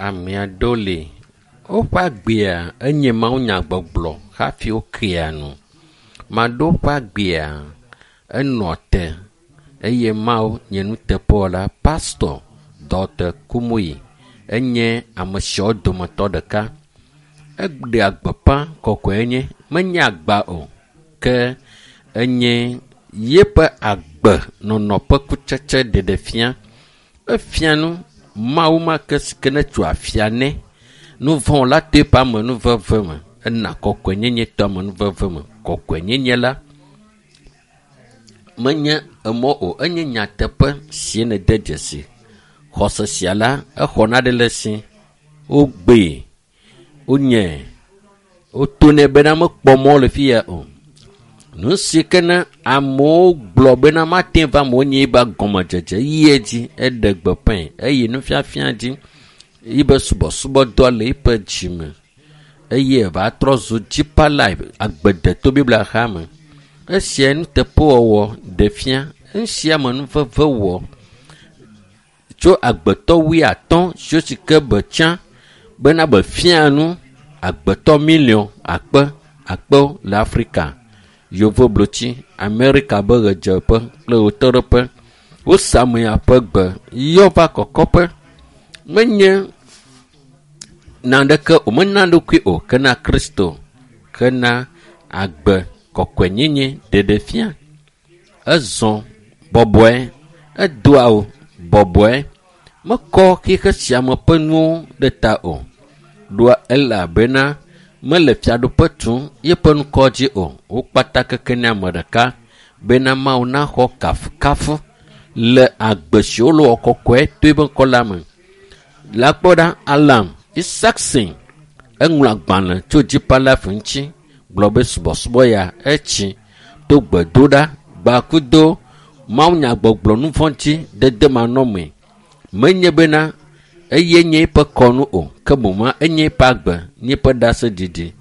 Ame aɖewo li woƒe agbea enye mawunyagbɔgblɔ hafi wokea nu. Ame aɖewo ƒe agbea enɔ te eye Mawu nye nuteƒewɔla. Pastɔ Dr. Kumuyi enye ame siawo dometɔ ɖeka. Eɖea gbeƒã kɔkɔenye menye agba o ke enye yeƒe agbenɔnɔ ƒe kutsetse ɖeɖefia. Efia nu Mawu ma ke si ke netso afia nɛ. Nu vɔ̃ la to eƒe amenuveve me. Ena kɔkɔenyenye to amenuveve me. Kɔkɔenyenye la menye emɔ o, enye nyateƒe si nede dzesi. Xɔse sia la, exɔ naɖe le esi. Wogbee, wonyae, wotonɛ bena mekpɔ mɔ le fi ya o. Nu si ke ne amewo gblɔ bena mate va amewo nye yiba gɔmedzedze yi edzi eɖe gbeƒãe eye nufiafia dzi yibe subɔsubɔdɔ le yiƒe dzime eye eva trɔ zu Deeper Life agbedeto Biblia hame. Esia nuteƒewɔwɔ ɖe fia. Esia me nuveve wɔ tso agbetɔ wuiatɔ̃ siwo si ke be tsã bena be fia nu agbetɔ miliɔn akpe akpewo le Afrika, Yevublotsi, Amerika be ɣedzeƒe kple ɣetoɖoƒe. Wose ame ya ƒe gbe yɔ va kɔkɔƒe. Menye naneke o, mena eɖokui o ke na Kristo, ke na agbe kɔkɔenyenye ɖeɖefia. Ezɔ bɔbɔe, edo awu bɔbɔe, mekɔ xixe sia me ƒe nuwo ɖe ta o. Ɖoa elabena mele fiaɖuƒe tum yeƒe ŋkɔ dzi o. Wo kpata keke ne ame ɖeka bena Mawu naxɔ kafukafu le agbe si wole wɔ kɔkɔe to eƒe ŋkɔ la me. La kpɔ ɖa Alan Isaacson eŋlɔ agbalẽ tso Deeper Life ŋuti gblɔ be subɔsubɔ ya etsi to gbedoɖa gbakudo mawunyagbɔgblɔ nu vɔ̃ dzi dede manɔmee. Menye bena eye nye eƒe kɔnu o ke boŋ enye eƒe agbe, nye eƒe ɖaseɖiɖi.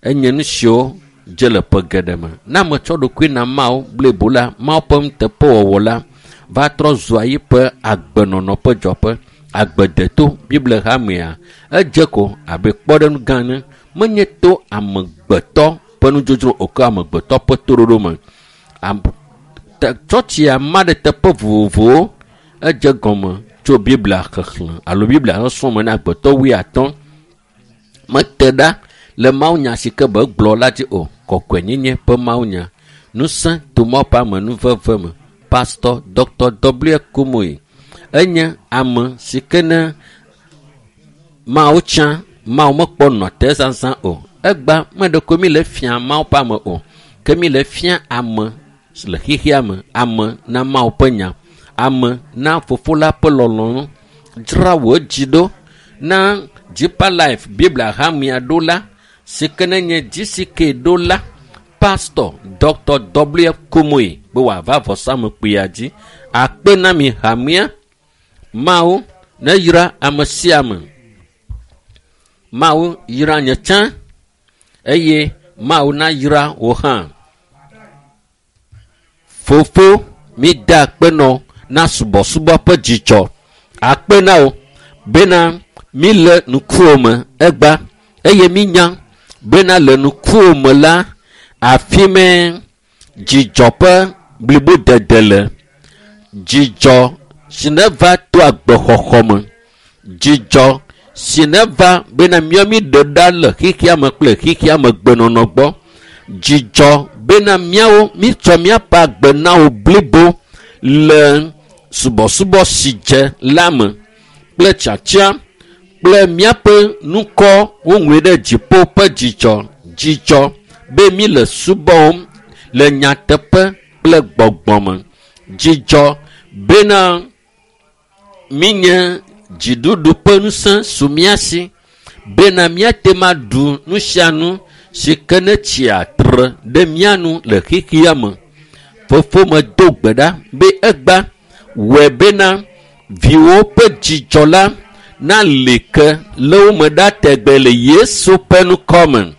Enye nu siwo dze le ƒe geɖe me. Ne ame tsɔ ɖokui na Mawu blibo la, Mawu ƒe nuteƒewɔwɔ la va trɔ zua yiƒe agbenɔnɔ ƒe dzɔƒe. Agbedeto Biblia hamea edze ko abe kpɔɖeŋu gã ene. Menye to amegbetɔ ƒe nudzodzro o ke amegbetɔ ƒe toɖoɖo me. Tsɔtsia ma ɖe teƒe vovovowo. Edze gɔme tso Biblia xexlẽ alo Biblia sɔsrɔ̃ me na agbetɔ wuiatɔ̃. Mete ɖa le mawunya si ke be gblɔ la dzi o. Kɔkɔenyenye ƒe mawunya. Ŋusẽ to Mawu ƒe amenuveve me. Pastor Dr. W. Kumuyi enye ame si ke ne Mawu tsã, Mawu mekpɔ nɔ te zazã o. Egba meɖeko mi le fia Mawu ƒe ame o. Ke mi le fia ame le xexea me. Ame na Mawu ƒe nya. Ame na fofo la ƒe lɔlɔ̃nu. Dzra wò dzi ɖo na Deeper Life Biblia hamea ɖo la si ke ne nye GCK ɖo la Pastor Dr. W. Kumuyi be wòava vɔsamlekpuia dzi. Akpe na mi hamea. Mawu neyra ame sia ame. Mawu yra nye tsã eye Mawu nayra wò hã. Fofo, mi da akpe nɔ na subɔsubɔ ƒe dzidzɔ. Akpe na wò bena mi le ŋkuwò me egba eye mi nya bena le ŋkuwò me la afi mɛ dzidzɔ ƒe blibodede le. Dzidzɔ si neva to agbexɔxɔ me. Dzidzɔ si neva bena míawo mi ɖe ɖa le xexea me kple xexea me gbenɔnɔ gbɔ. Dzidzɔ bena míawo mítsɔ míaƒe agbe na wò blibo le subɔsubɔ si dze la me kple tiatia kple míaƒe ŋkɔ woŋlɔe ɖe dziƒo ƒe dzidzɔ. Dzidzɔ be mi le subɔm le nyateƒe kple gbɔgbɔ me. Dzidzɔ bena minye dziɖuɖu ƒe ŋusẽ su mía si bena míate ma ɖu nu sia nu si ke ne tsia tre ɖe mía nu le xexea me. Fofo medo gbe ɖa be egba wɔe bena viwo ƒe dzidzɔ la nali ke le wo me ɖa tegbe le Yesu ƒe ŋkɔ me.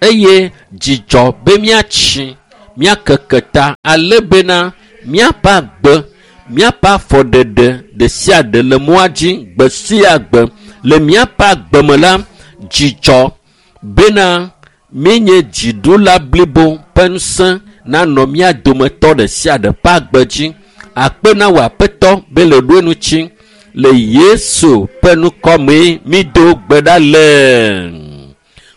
Eye dzidzɔ be míatsi, míakeke ta ale bena míaƒe agbe, míaƒe afɔɖeɖe ɖe sia ɖe le mɔa dzi gbe sia gbe Le míaƒe agbeme la, dzidzɔ bena míenye dziɖula blibo ƒe ŋusẽ nanɔ mía dometɔ ɖe sia ɖe ƒe agbe dzi. Akpe na wò Aƒetɔ be le ɖo ŋuti le Yesu ƒe ŋkɔmee mído gbe ɖa le.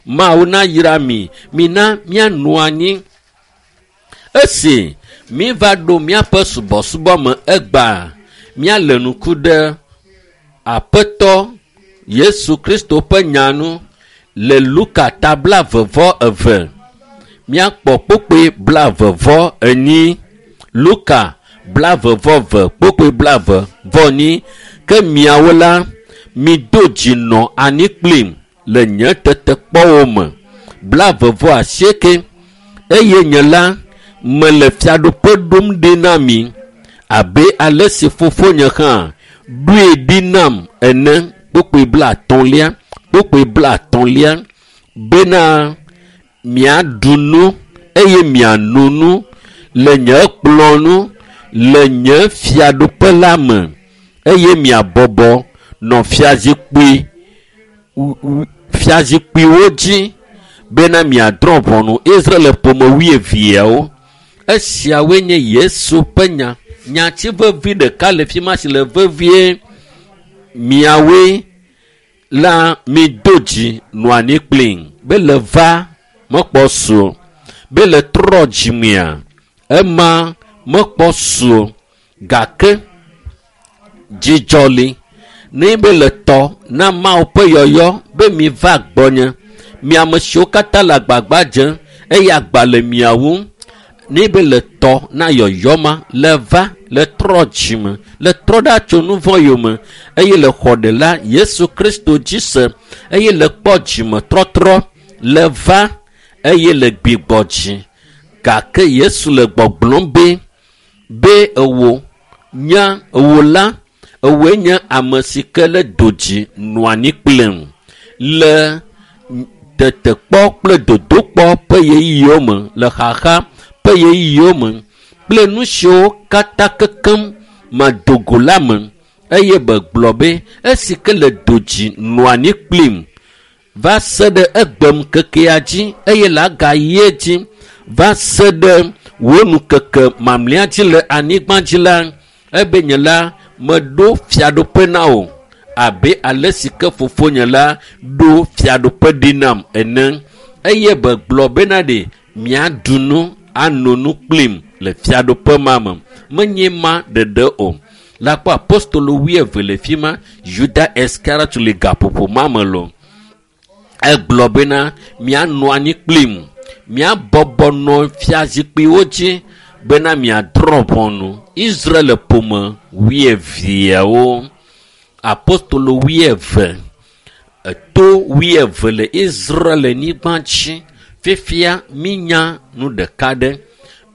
Mawu nayra mi, mina míanɔ anyi. Esi míva ɖo míaƒe subɔsubɔ me egbea, míale ŋku ɖe Aƒetɔ Yesu Kristo ƒe nya nu le Luka ta 22. Míakpɔ kpukpui 24. Luka 22 kpukpui 24. Ke miawo la, mido dzi nɔ anyi kplim le nye tetekpɔwo me. 28. Eye nye la, mele fiaɖuƒe ɖom ɖi na mi abe ale si fofonye hã ɖoe ɖi nam ene. Kpukpui 50. Kpukpui 50. Bena miaɖu nu eye miano nu le nye kplɔ̃ nu le nye fiaɖuƒe la me eye miabɔbɔ nɔ fiazikpuiwo dzi bena miadrɔ̃ ʋɔnu Israel ƒome wuieveawo. Esiawoe nye Yesu ƒe nya. Nyati vevi ɖeka le fi ma si le vevie. Miawoe la mido dzi nɔ anyi kplim be le va mekpɔ su be le trɔ dzimea ema mekpɔ su gake dzidzɔ li ne be le tɔ na Mawu ƒe yɔyɔ be mi va gbɔnye. Mi ame siwo katã le agbagba dzem eye agba le mia ŋu ne be le tɔ na yɔyɔ ma le va le trɔ dzime le trɔ ɖa tso nu vɔ̃ yome eye le xɔ ɖela Yesu Kristo dzi se eye le kpɔ dzime trɔtrɔ le va eye le gbigbɔ dzi. Gake Yesu le gbɔgblɔm be ewo nye ewo la ewoe nye ame si ke le do dzi nɔ anyi kplim le tetekpɔ kple dodokpɔ ƒe ɣeyiɣiwo me le xaxa ƒe ɣeyiɣiwo me kple nu siwo katã kekem medogo la me eye begblɔ be esi ke le do dzi nɔ anyi kplim va se ɖe egbem kekea dzi eye le agayi dzi va se ɖe wò nukeke mamlɛa dzi le anyigba dzi la ebe nye la meɖo fiaɖuƒe na wò abe ale si ke fofonye la ɖo fiaɖuƒe ɖi nam ene eye begblɔ bena ɖe miaɖu nu ano nu kplim le fiaɖuƒe ma me. Menye ma ɖeɖe o. La kpɔ apostolo 20 le fi ma, Juda Iskariot le gaƒoƒo ma me lo. Egblɔ bena mianɔ anyi kplim, miabɔbɔ nɔ fiazikpuiwo dzi bena miadrɔ̃ ʋɔnu Israel ƒome wuieveawo. Apostolo 20, eto 20 le Israel nyigba dzi. Fifia minya nu ɖeka ɖe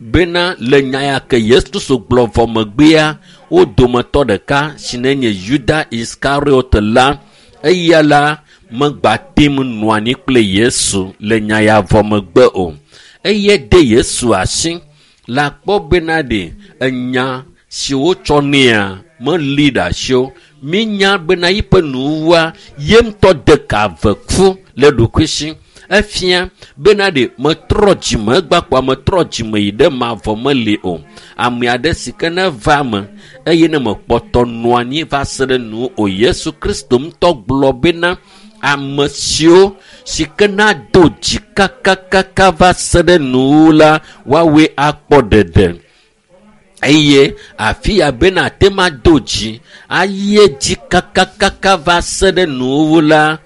bena le nya ya ke Yesu Kristo gblɔ vɔ megbea wo dometɔ ɖeka si ne nye Juda Iskariot la eya la megba tem nɔ anyi kple Yesu le nya ya vɔ megbe o. Eye de Yesu asi la kpɔ bena ɖe enya si wotsɔ nɛa meli ɖe asi o. Minya bena yiƒe nuwuwua ye ŋutɔ de ka ve ku le ɖokuisi. Efia bena ɖe metrɔ dzime egbakpɔ metrɔ dzime yi ɖe mavɔ meli o. Ame aɖe si ke ne va eme eye ne mekpɔtɔ nɔ anyi va se ɖe nu o. Yesu Kristo ŋutɔ gblɔ bena ame siwo si ke nado dzi kakakaka va se ɖe nuwu la woawoe akpɔ ɖeɖe. Eye afi ya bena ate ma do dzi ayi dzi kakakaka va se ɖe nuwu la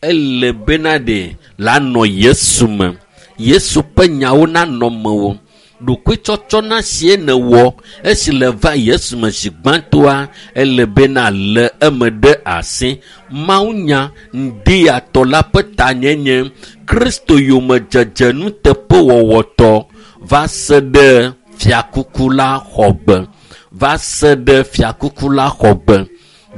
ele bena ɖe la nɔ Yesu me. Yesu ƒe nyawo nanɔ mewò. Ɖokuitsɔtsɔ na sie nèwɔ esi le va Yesu me zi gbãtɔa ele bena le eme ɖe asi. Mawunya ŋdiyatɔ la ƒe tanyenye Kristo yomedzedze nuteƒewɔwɔtɔ va se ɖe fiakuku la xɔgbe. Va se ɖe fiakuku la xɔgbe.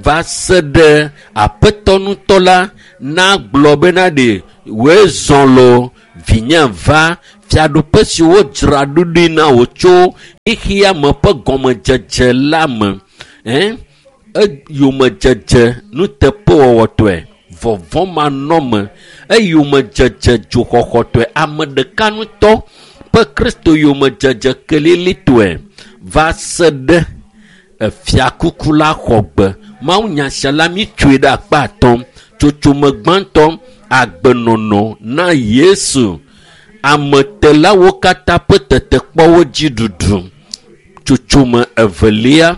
Va se ɖe Aƒetɔ ŋutɔ la nagblɔ bena ɖe wòe zɔ lo vinye va fiaɖuƒe si wodzra ɖo ɖi na wò tso xexea me ƒe gɔmedzedze la me. Eyomedzedze nuteƒewɔwɔtɔe. vɔvɔ̃manɔme eyomedzedze dzoxɔxɔtɔe ame ɖeka ŋutɔ ƒe Kristo yomedzedze kelilitɔe va se ɖe efiakuku la xɔ gbe. Mawunya sia la mítsoe ɖe akpa atɔ̃. Tsotsome gbãtɔ, agbenɔnɔ na Yesu. Ametelawo katã ƒe tetekpɔwo dzi ɖuɖu. Tsotsome evelia,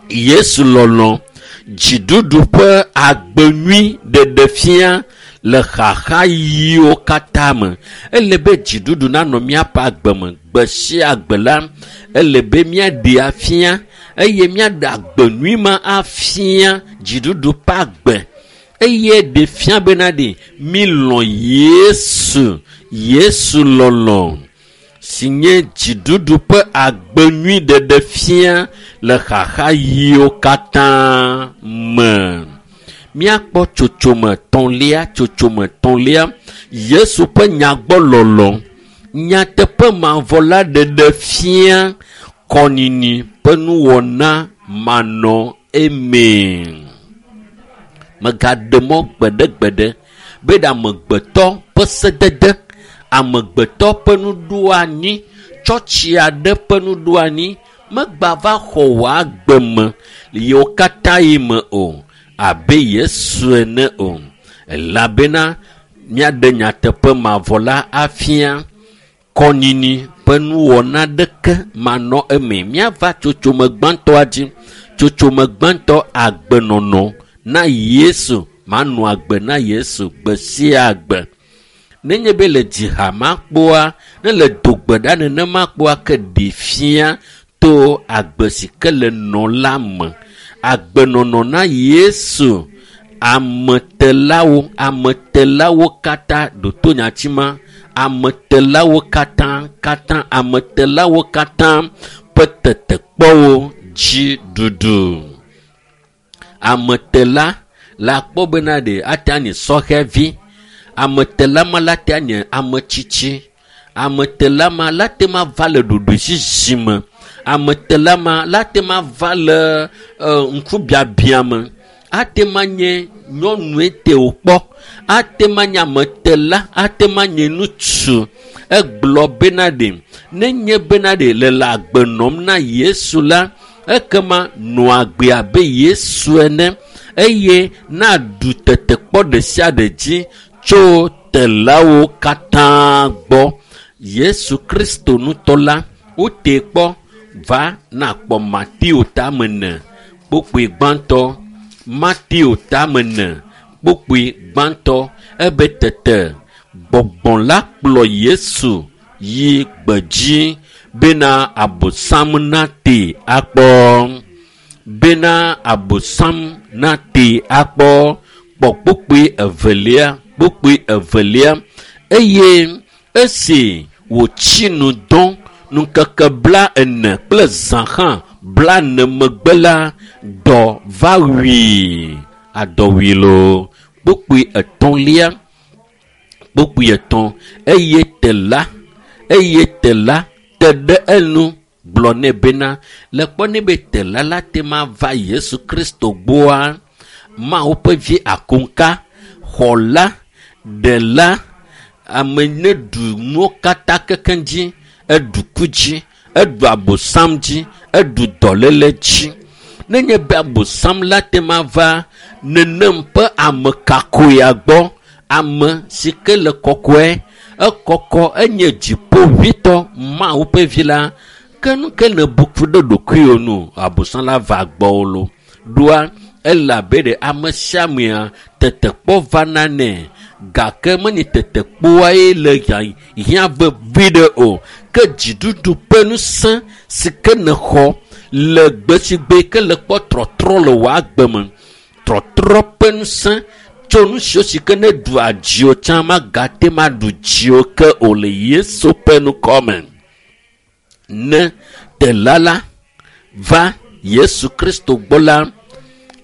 Yesu lɔlɔ, dziɖuɖu ƒe agbe nyui ɖeɖe fia le xaxaɣiwo katã me. Ele be dziɖuɖu nanɔ míaƒe agbe me gbe sia gbe la, ele be míaɖee afia eye míaɖe agbe nyui ma afia dziɖuɖu ƒe agbe. Eye ɖe fia bena ɖe mílɔ̃ Yesu, Yesu lɔlɔ si nye dziɖuɖu ƒe agbe nyui ɖeɖe fia le xaxaɣiwo katã me. Míakpɔ tsotsome tɔ̃lia, tsotsome tɔ̃lia, Yesu ƒe nyagbɔlɔlɔ, nyateƒe mavɔ la ɖeɖe fia kɔnini ƒe nuwɔna manɔ eme. Megaɖe mɔ gbeɖegbeɖe be ɖe amegbetɔ ƒe sedede, amegbetɔ ƒe nuɖoanyi, tsɔtsi aɖe ƒe nuɖoanyi megba va xɔ wò agbe me le yewo katã yi me o abe Yesu ene o. Elabena míaɖe nyateƒe mavɔ la afia kɔnyinyi ƒe nuwɔna ɖeke manɔ eme. Míava tsotsome gbãtɔa dzi. Tsotsome gbãtɔ, agbenɔnɔ na Yesu, manɔ agbe na Yesu gbe sia gbe. Nenye be le dziha ma kpɔa, ne le dogbe ɖa nenema kpɔa, ke ɖe fia to agbe si ke le nɔ la me. Agbenɔnɔ na Yesu, ametelawo, ametelawo katã, ɖo nyati ma, ametelawo katã, katã, ametelawo katã ƒe tetekpɔwo dzi ɖuɖu. Ametela la kpɔ bena ɖe ate anye sɔhɛvi, ametela ma la te anye ametsitsi, ametela ma la te ma va le ɖoɖoezizi me, ametela ma la te ma va le ŋkubiabia me, ate ma nye nyɔnue te wòkpɔ, ate ma nye ametela, ate ma nye ŋutsu. Egblɔ bena ɖe nenye bena ɖe le le agbe nɔm na Yesu la, ekema nɔ agbe abe Yesu ene eye naɖu tetekpɔ ɖe sia ɖe dzi tso telawo katã gbɔ. Yesu Kristo ŋutɔ la, wotee kpɔ va nakpɔ Mateo tame ene kpukpui gbãtɔ, Mateo tame ene kpukpui gbãtɔ, ebe tete gbɔgbɔ la kplɔ Yesu yi gbedzi bena Abosam nate akpɔ. Bena Abosam nate akpɔ. Kpɔ kpukpui evelia, kpukpui evelia. Eye esi wòtsi nu dɔ ŋkeke 40 kple zã hã 40 megbe la, dɔ va wui. Adɔ wui loo. Kpukpui etɔ̃lia, kpukpui etɔ̃. Eye tela, eye tela te ɖe enu gblɔ nɛ bena, le kpɔ nɛ be tela la te ma va Yesu Kristo gbɔa, Mawu ƒe vi akonka, xɔla, ɖela, ame ne ɖu nuwo katã kekeŋ dzi, eɖu ku dzi, eɖu Abosam dzi, eɖu dɔléle dzi. Nenye be Abosam la te ma va nenem ƒe ame kakoea gbɔ, ame si ke le kɔkɔe, ekɔkɔ enye dziƒoʋĩtɔ Mawu ƒe vi la, ke nu ke ne bu ku ɖe ɖokuiwò nu, Abosam la va gbɔwò lo. Ɖoa elabe ɖe ame sia amea tetekpɔ vana nɛ, gake menye tetekpɔa ye le hiã vevi ɖe o, ke dziɖuɖu ƒe ŋusẽ si ke nexɔ le gbe si gbe ke le kpɔ trɔtrɔ le wò agbe me. Trɔtrɔ ƒe ŋusẽ tso nu siwo si ke ne ɖua dziwò tsã magate ma ɖu dziwò ke o le Yesu ƒe ŋkɔ me. Ne tela la va Yesu Kristo gbɔ la,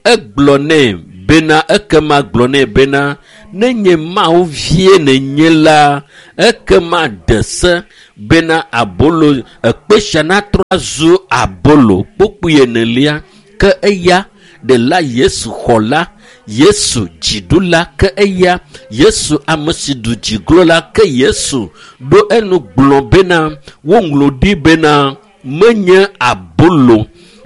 egblɔ nɛ bena, ekema gblɔ nɛ bena, nenye Mawu vie nènye la, ekema de se bena abolo ekpe sia natrɔ azu abolo. Kpukpui enelia, ke eya ɖela Yesu xɔ la, Yesu dziɖula ke eya, Yesu ame si ɖu dziglo la ke Yesu ɖo enu gblɔ bena woŋlɔ ɖi bena menye abolo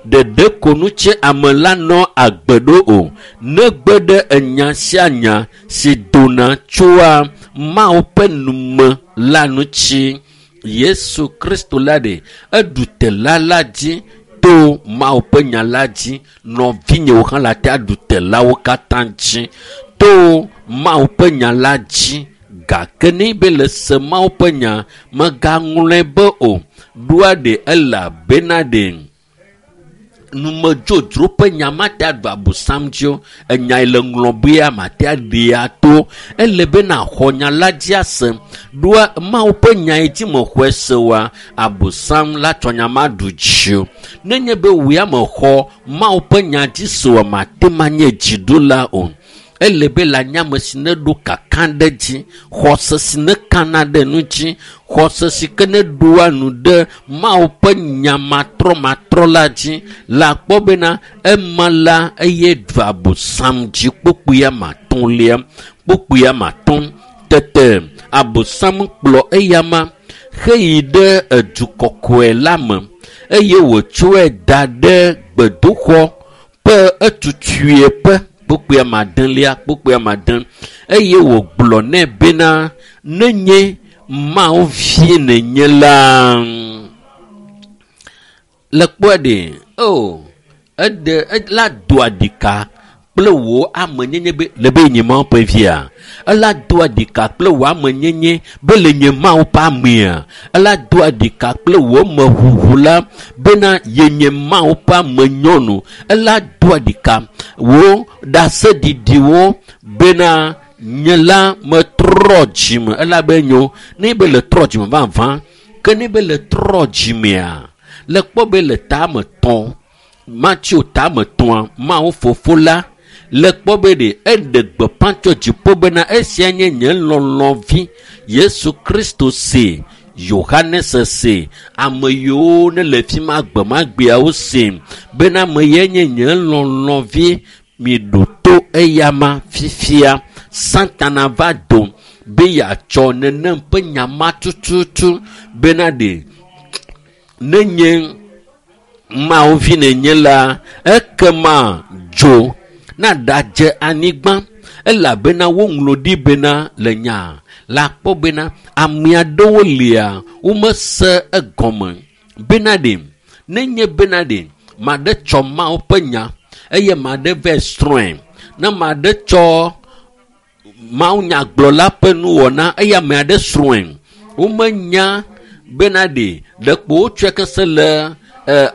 ɖeɖe ko nu tse ame la nɔ agbe ɖo o, negbe ɖe enya sia nya si dona tsoa Mawu ƒe nume la ŋuti. Yesu Kristo la ɖe eɖu tela la dzi to Mawu ƒe nya la dzi. Nɔvinyewo hã la te aɖu telawo katã dzi to Mawu ƒe nya la dzi. Gake ne be le se Mawu ƒe nya, megaŋlɔe be o. Ɖoa ɖe elabena ɖe numedzodzro ƒe nya mate aɖu abosam dzi o. Enya yi le ŋlɔbea mate aɖee ato. Ele be naxɔ nya la dzi ase. Ɖoa Mawu ƒe nya yi dzi mexɔe se oa, abosam la tsɔ nya ma ɖu dzi o. Nenye be wò ya mexɔ Mawu ƒe nya dzi se oa, mate ma nye dziɖula o. Ele be le anyame si ne ɖo kaka ɖe dzi, xɔse si ne kana ɖe nu dzi, xɔse si ke ne ɖoa nu ɖe Mawu ƒe nya matrɔmatrɔ la dzi, la kpɔ bena ema la eye ɖu abosam dzi kpokpuia matɔ̃lia, kpokpuia matɔ̃. Tete abosam kplɔ eyama heyi ɖe edu kɔkɔe la me eye wòtsɔe da ɖe gbedoxɔ ƒe etutue ƒe kpokpuia madelia, kpokpuia made, eye wògblɔ nɛ bena nenye Mawu vie nènye la. Le kpɔe ɖe, o, eɖe, ela doa ɖika kple wò amenyenye be le be nye Mawu ƒe via. Ela doa ɖika kple wò amenyenye be le nye Mawu ƒe amea. Ela doa ɖika kple wò meʋuʋu la bena yenye Mawu ƒe amenyɔnu. Ela doa ɖika wò ɖaseɖiɖiwo bena nye la metrɔ dzime. Elabe nyo ne be le trɔ dzime vavã, ke ne be le trɔ dzimea, le kpɔ be le tame tɔ̃, Mateo tame tɔ̃a, Mawu fofo la le kpɔ be ɖe eɖe gbeƒã tso dziƒo bena esia nye nye lɔlɔ̃vi Yesu Kristo se, Yohanes se, ame yiwo ne le fi ma gbemagbeawo se bena ame ye nye nye lɔlɔ̃vi, miɖo to eyama fifia. Satana va do be yeatsɔ nenem ƒe nya ma tututu bena ɖe nenye Mawu vi nenye la, ekema dzo naɖadze anyigba, elabena woŋlɔ ɖi bena le nya la kpɔ bena ame aɖewo lia womese egɔme bena ɖe nenye bena ɖe maɖe tsɔ Mawu ƒe nya eye maɖe vɛ srɔ̃e, ne maɖe tsɔ Mawu nyagblɔla ƒe nuwɔna eye ame aɖe srɔ̃e, womenya bena ɖe ɖekpo wotsɔe kese le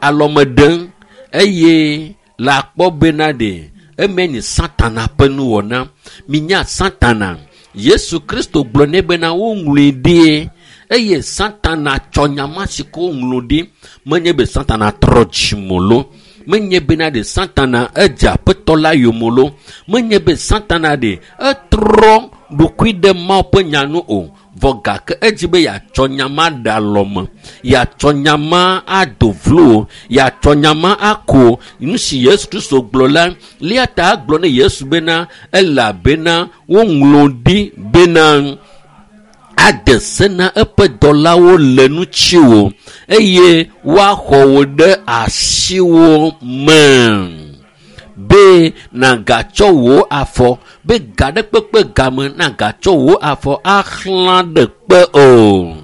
alɔme ɖem eye la kpɔ bena ɖe eme nye Satana ƒe nuwɔna. Minya Satana. Yesu Kristo gblɔ nɛ bena woŋlɔe ɖi eye Satana tsɔ nya ma si ke woŋlɔ ɖi. Menye be Satana trɔ dzime lo, menye bena ɖe Satana edze aƒetɔ la yome lo, menye be Satana ɖe etrɔ ɖokui ɖe Mawu ƒe nya nu o. Vɔ gake edzi be yeatsɔ nya ma ɖe alɔme, yeatsɔ nya ma ado vlo, yeatsɔ nya ma ako. Nu si Yesu Kristo gblɔ la, lia ta gblɔ ne Yesu bena elabena woŋlɔ ɖi bena ade se na eƒe dɔlawo le ŋutiwò eye woaxɔ wò ɖe asiwò me be nàgatsɔ wò afɔ be ga ɖe kpekpe game nàgatsɔ wò afɔ axlã ɖe kpe o.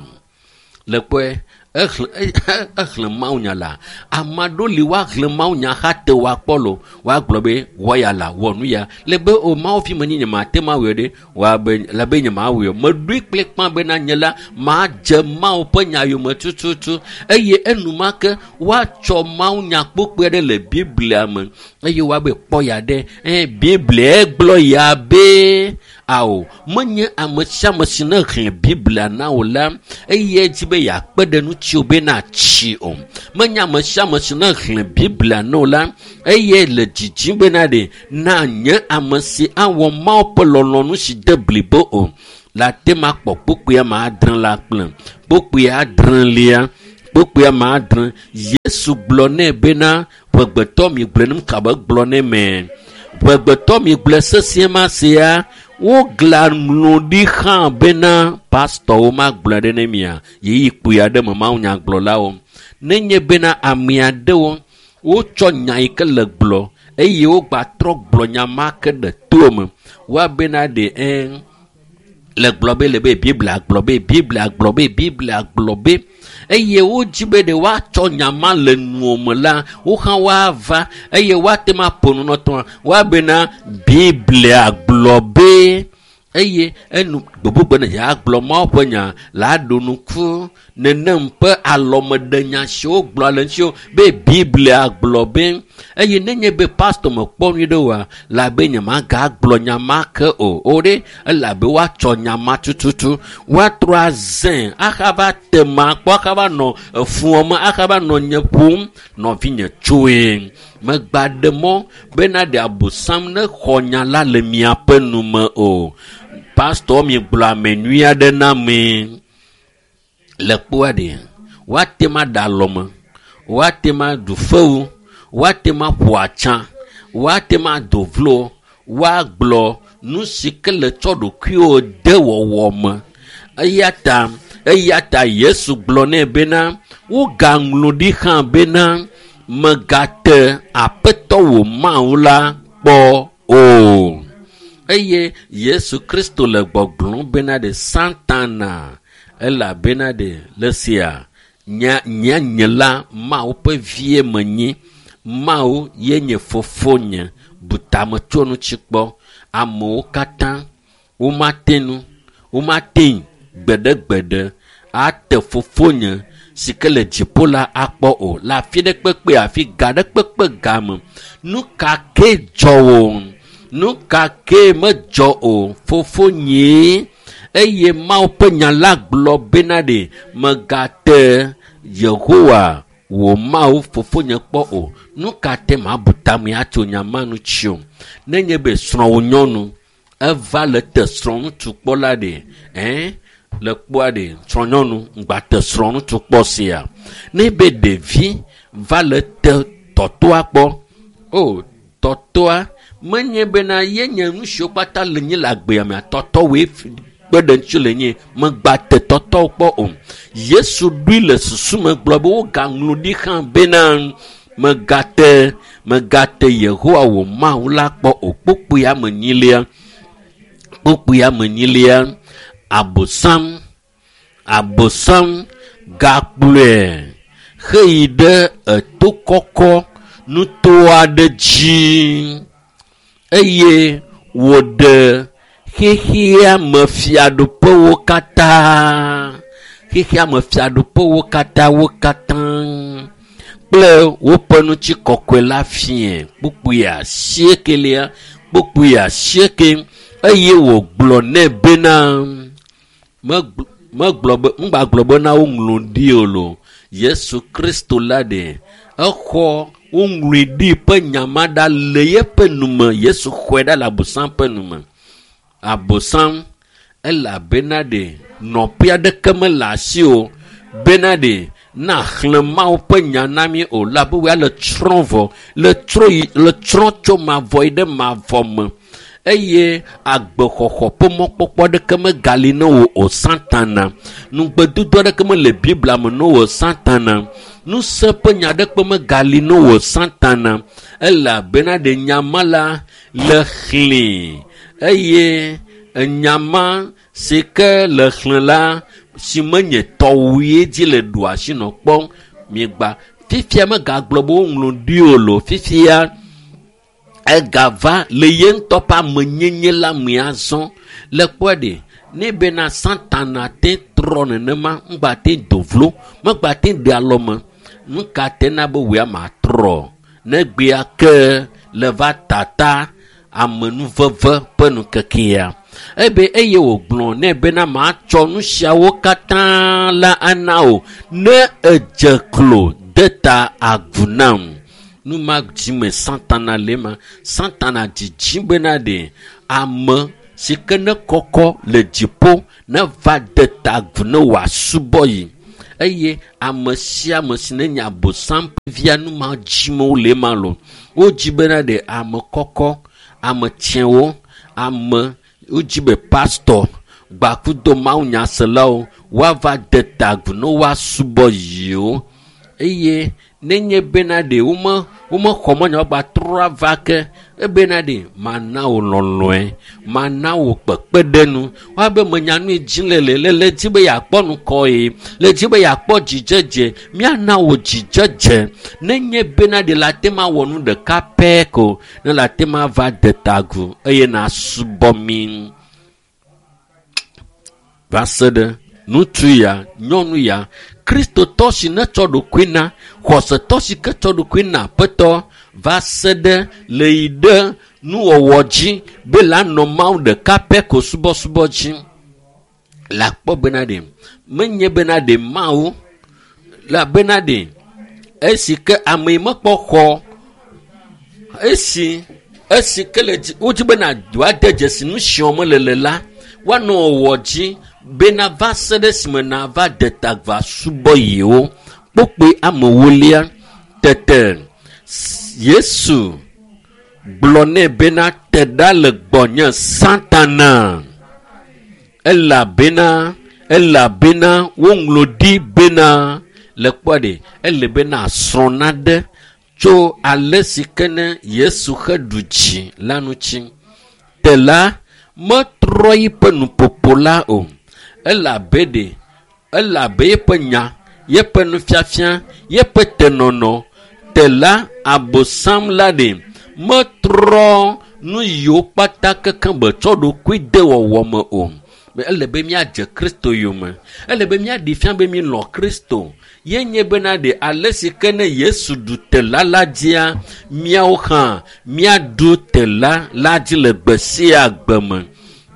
Le kpɔe, exlẽ mawunya la. Ame aɖewo li woaxlẽ mawunya xa te woakpɔ lo, woagblɔ be wɔ ya la, wɔ nu ya. Le be o Mawu fi menye nye mate mawɔe ɖe, woabe le be nye mawɔe o. Meɖoe kple kpã bena nye la madze Mawu ƒe nya yome tututu eye enumake woatsɔ mawunya kpokpoe aɖe le Biblia me eye woabe kpɔ ya ɖe. Biblia gblɔ ya be ao, menye ame sia ame si ne xlẽ Biblia na wò la eye edzi be yeakpe ɖe ŋutiwò be natsi o. Menye ame sia ame si ne xlẽ Biblia na wò la eye le dzidzim bena ɖe nanye ame si awɔ Mawu ƒe lɔlɔ̃nu si de blibo o. La te ma kpɔ kpokpoea ma adre la kple kpokpoea adrelia, kpokpoea ma adre. Yesu gblɔ nɛ bena ƒegbetɔ mi gblɔ nem kabe gblɔ nɛ me. Ʋegbetɔ mi gblɔe sesĩe ma sia, wogla ŋlɔ ɖi hã bena pastɔwo magblɔe ɖe ne mia ɣeyiɣi kpui aɖe me mawunyagblɔlawo. Nenye bena ame aɖewo wotsɔ nya yi ke le gblɔ eye wogbatrɔ gblɔ nya ma ke ɖe to me, woabena ɖe le gblɔ be le be Biblia gblɔ be Biblia gblɔ be Biblia gblɔ be eye wodzi be ɖe woatsɔ nya ma le nuwo me la, wo hã woava eye woate ŋu aƒo nu nɔtɔa, woabena Biblia gblɔ be eye enu gbogbo ne yeagblɔ Mawu ƒe nya la ɖo nuku nenem ƒe alɔmeɖenya siwo gblɔ le ŋuti be Biblia gblɔ be eye nenye be pastor mekpɔ nyui ɖe oa, la be nyemagagblɔ nya ma ke o. O ɖe elabe woatsɔ nya ma tututu, woatrɔ azẽ ahava te ma kpɔ, ahava nɔ efuɔ me, ahava nɔ nye ƒom nɔvinye tsoe. Megba ɖe mɔ bena ɖe Abosam ne xɔ nya la le miaƒe nu me o. Pastor mi gblɔ ame nyui aɖe na mi le kpoa ɖe woate ma ɖe alɔme, woate ma ɖu fewu, woate ma ƒo atsa, woate ma do vlo, woagblɔ nu si ke le tsɔ ɖokuiwo de wɔwɔ me. Eya ta Yesu gblɔ nɛ bena wogaŋlɔ ɖi hã bena megate Aƒetɔ wò Mawu la kpɔ o. Eye Yesu Kristo le gbɔgblɔm bena ɖe Satana elabena ɖe le sia nye nye la Mawu ƒe vie menye, Mawu ye nye fofonye, bu tame tso ŋuti kpɔ. Amewo katã womate nu, womate gbeɖegbeɖe ate fofonye si ke le dziƒo la akpɔ o. Le afi ɖe kpekpe, afi ga ɖe kpekpe game, nu ka ke dzɔ o, nu ka ke medzɔ o, fofonyee. Eye Mawu ƒe nya la gblɔ bena ɖe megate Yehowa wò Mawu fofonye kpɔ o. Nu ka te mabu tame atso nya ma ŋuti o? Nenye be srɔ̃wò nyɔnu eva le te srɔ̃ŋutsu kpɔ la ɖe, le kpɔa ɖe srɔ̃nyɔnu ŋgba te srɔ̃ŋutsu kpɔ sia. Ne be ɖevi va le te tɔtɔa kpɔ, o tɔtɔa menye bena ye nye nu siwo kpata le nyi le agbea mea, tɔtɔwoe kpe ɖe ŋuti le nyi, megba te tɔtɔwo kpɔ o. Yesu ɖoe le susu me gblɔ be wogaŋlɔ ɖi hã bena megate Yehowa wò Mawu la kpɔ o. Kpukpuia me nyilia, Abosam gakplɔe heyi ɖe eto kɔkɔ nuto aɖe dzi eye wòɖe xexea me fiaɖuƒewo katã, xexea me fiaɖuƒewo katã wo katã kple woƒe ŋutikɔkɔe la fie. Kpukpui 8 kpukpui 8 eye wògblɔ nɛ bena ŋgbagblɔ bena woŋlɔ ɖi o lo. Yesu Kristo la ɖe exɔ woŋlɔe ɖi ƒe nya ma ɖa le yeƒe nume. Yesu xɔe ɖa le Abosam ƒe nume. Abosam elabena ɖe nɔƒe aɖeke mele asi o bena ɖe na xlẽ Mawu ƒe nya na mi o, labe woa le tsrɔ̃ vɔ, le tsrɔ̃ tso mavɔ yi ɖe mavɔ me eye agbexɔxɔ ƒe mɔkpɔkpɔ aɖeke megali ne wò o Satana. Nugbedodo aɖeke mele Biblia me ne wò Satana. Ŋusẽ ƒe nya aɖeke megali ne wò Satana. Elabena ɖe nya ma la le xlẽ eye enya ma si ke le xlẽ la si menye tɔwoe dzi le ɖo asi nɔ kpɔm miegba. Fifia megagblɔ be woŋlɔ ɖi o lo. Fifia egava le ye ŋutɔ ƒe amenyenye la me azɔ. Le kpɔe ɖe ne bena Satana te trɔ nenema, ŋgba te do vlo, megba te ɖe alɔme. Nu ka te na be wòe ama trɔ? Ne gbea ke le va tata amenuveve ƒe nukekea. Ebe eye wògblɔ nɛ bena matsɔ nu siawo katã la ana wò ne edze klo de ta agu nam. Nu ma dzime Satana le ma. Satana dzidzi bena ɖe ame si ke ne kɔkɔ le dziƒo ne va de ta agu ne wòasubɔ yi. Eye ame sia ame si ne nye Abosam ƒe via nu ma dzime wole ma lo. Wodzi bena ɖe ame kɔkɔ, Ame tsɛwo, ame wodzi be pastɔ gbakudo mawunyaselawo woava de ta agu ne woasubɔ yewo eye nenye bena ɖe wome womexɔ mɔnya woagbatrɔ ava ke ebena ɖe mana wò lɔlɔe mana wò kpekpeɖenu woabe menya nu yi dzi le le le le dzi be yeakpɔ nukɔ ye le dzi be yeakpɔ dzidzedze míana wò dzidzedze nenye bena ɖe le ate ma wɔ nu ɖeka pɛ ko ne le ate ma va de ta agu eye nasubɔ mi va se ɖe ŋutsu ya nyɔnu ya kristotɔ si netsɔ ɖokui na xɔsetɔ si ke tsɔ ɖokui na aƒetɔ va se ɖe le yi ɖe nuwɔwɔ dzi be la nɔ mawu ɖeka pɛ ko subɔsubɔ dzi le akpɔ bena ɖe menye bena ɖe mawu la bena ɖe esi ke ame yi mekpɔ xɔ esi esi ke le dzi wodzi bena woade dzesi nu si wɔm le le la woanɔ wɔwɔ dzi bena va se ɖe esime nava de ta va subɔ yewo kpokpoe ame wolia tete Yesu gblɔ nɛ bena te ɖa le gbɔnye satana elabena elabena woŋlɔ ɖi bena le kpɔ ɖe ele bena srɔ̃ naɖe tso ale si ke ne Yesu xe ɖu dzi la ŋuti. Te la metrɔ yiƒe nuƒoƒo la o elabe ɖe elabe yeƒe nya yeƒe nufiafia yeƒe tenɔnɔ te la abosam la ɖe metrɔ nu yiwo kpata kekeŋ be tsɔ ɖokui de wɔwɔ me o ele be míadze kristo yome ele be míaɖi fia be mílɔ̃ kristo ye nye bena ɖe ale si ke ne yesu ɖu tela la dzia míawo hã míaɖu tela la dzi le gbe sia gbe me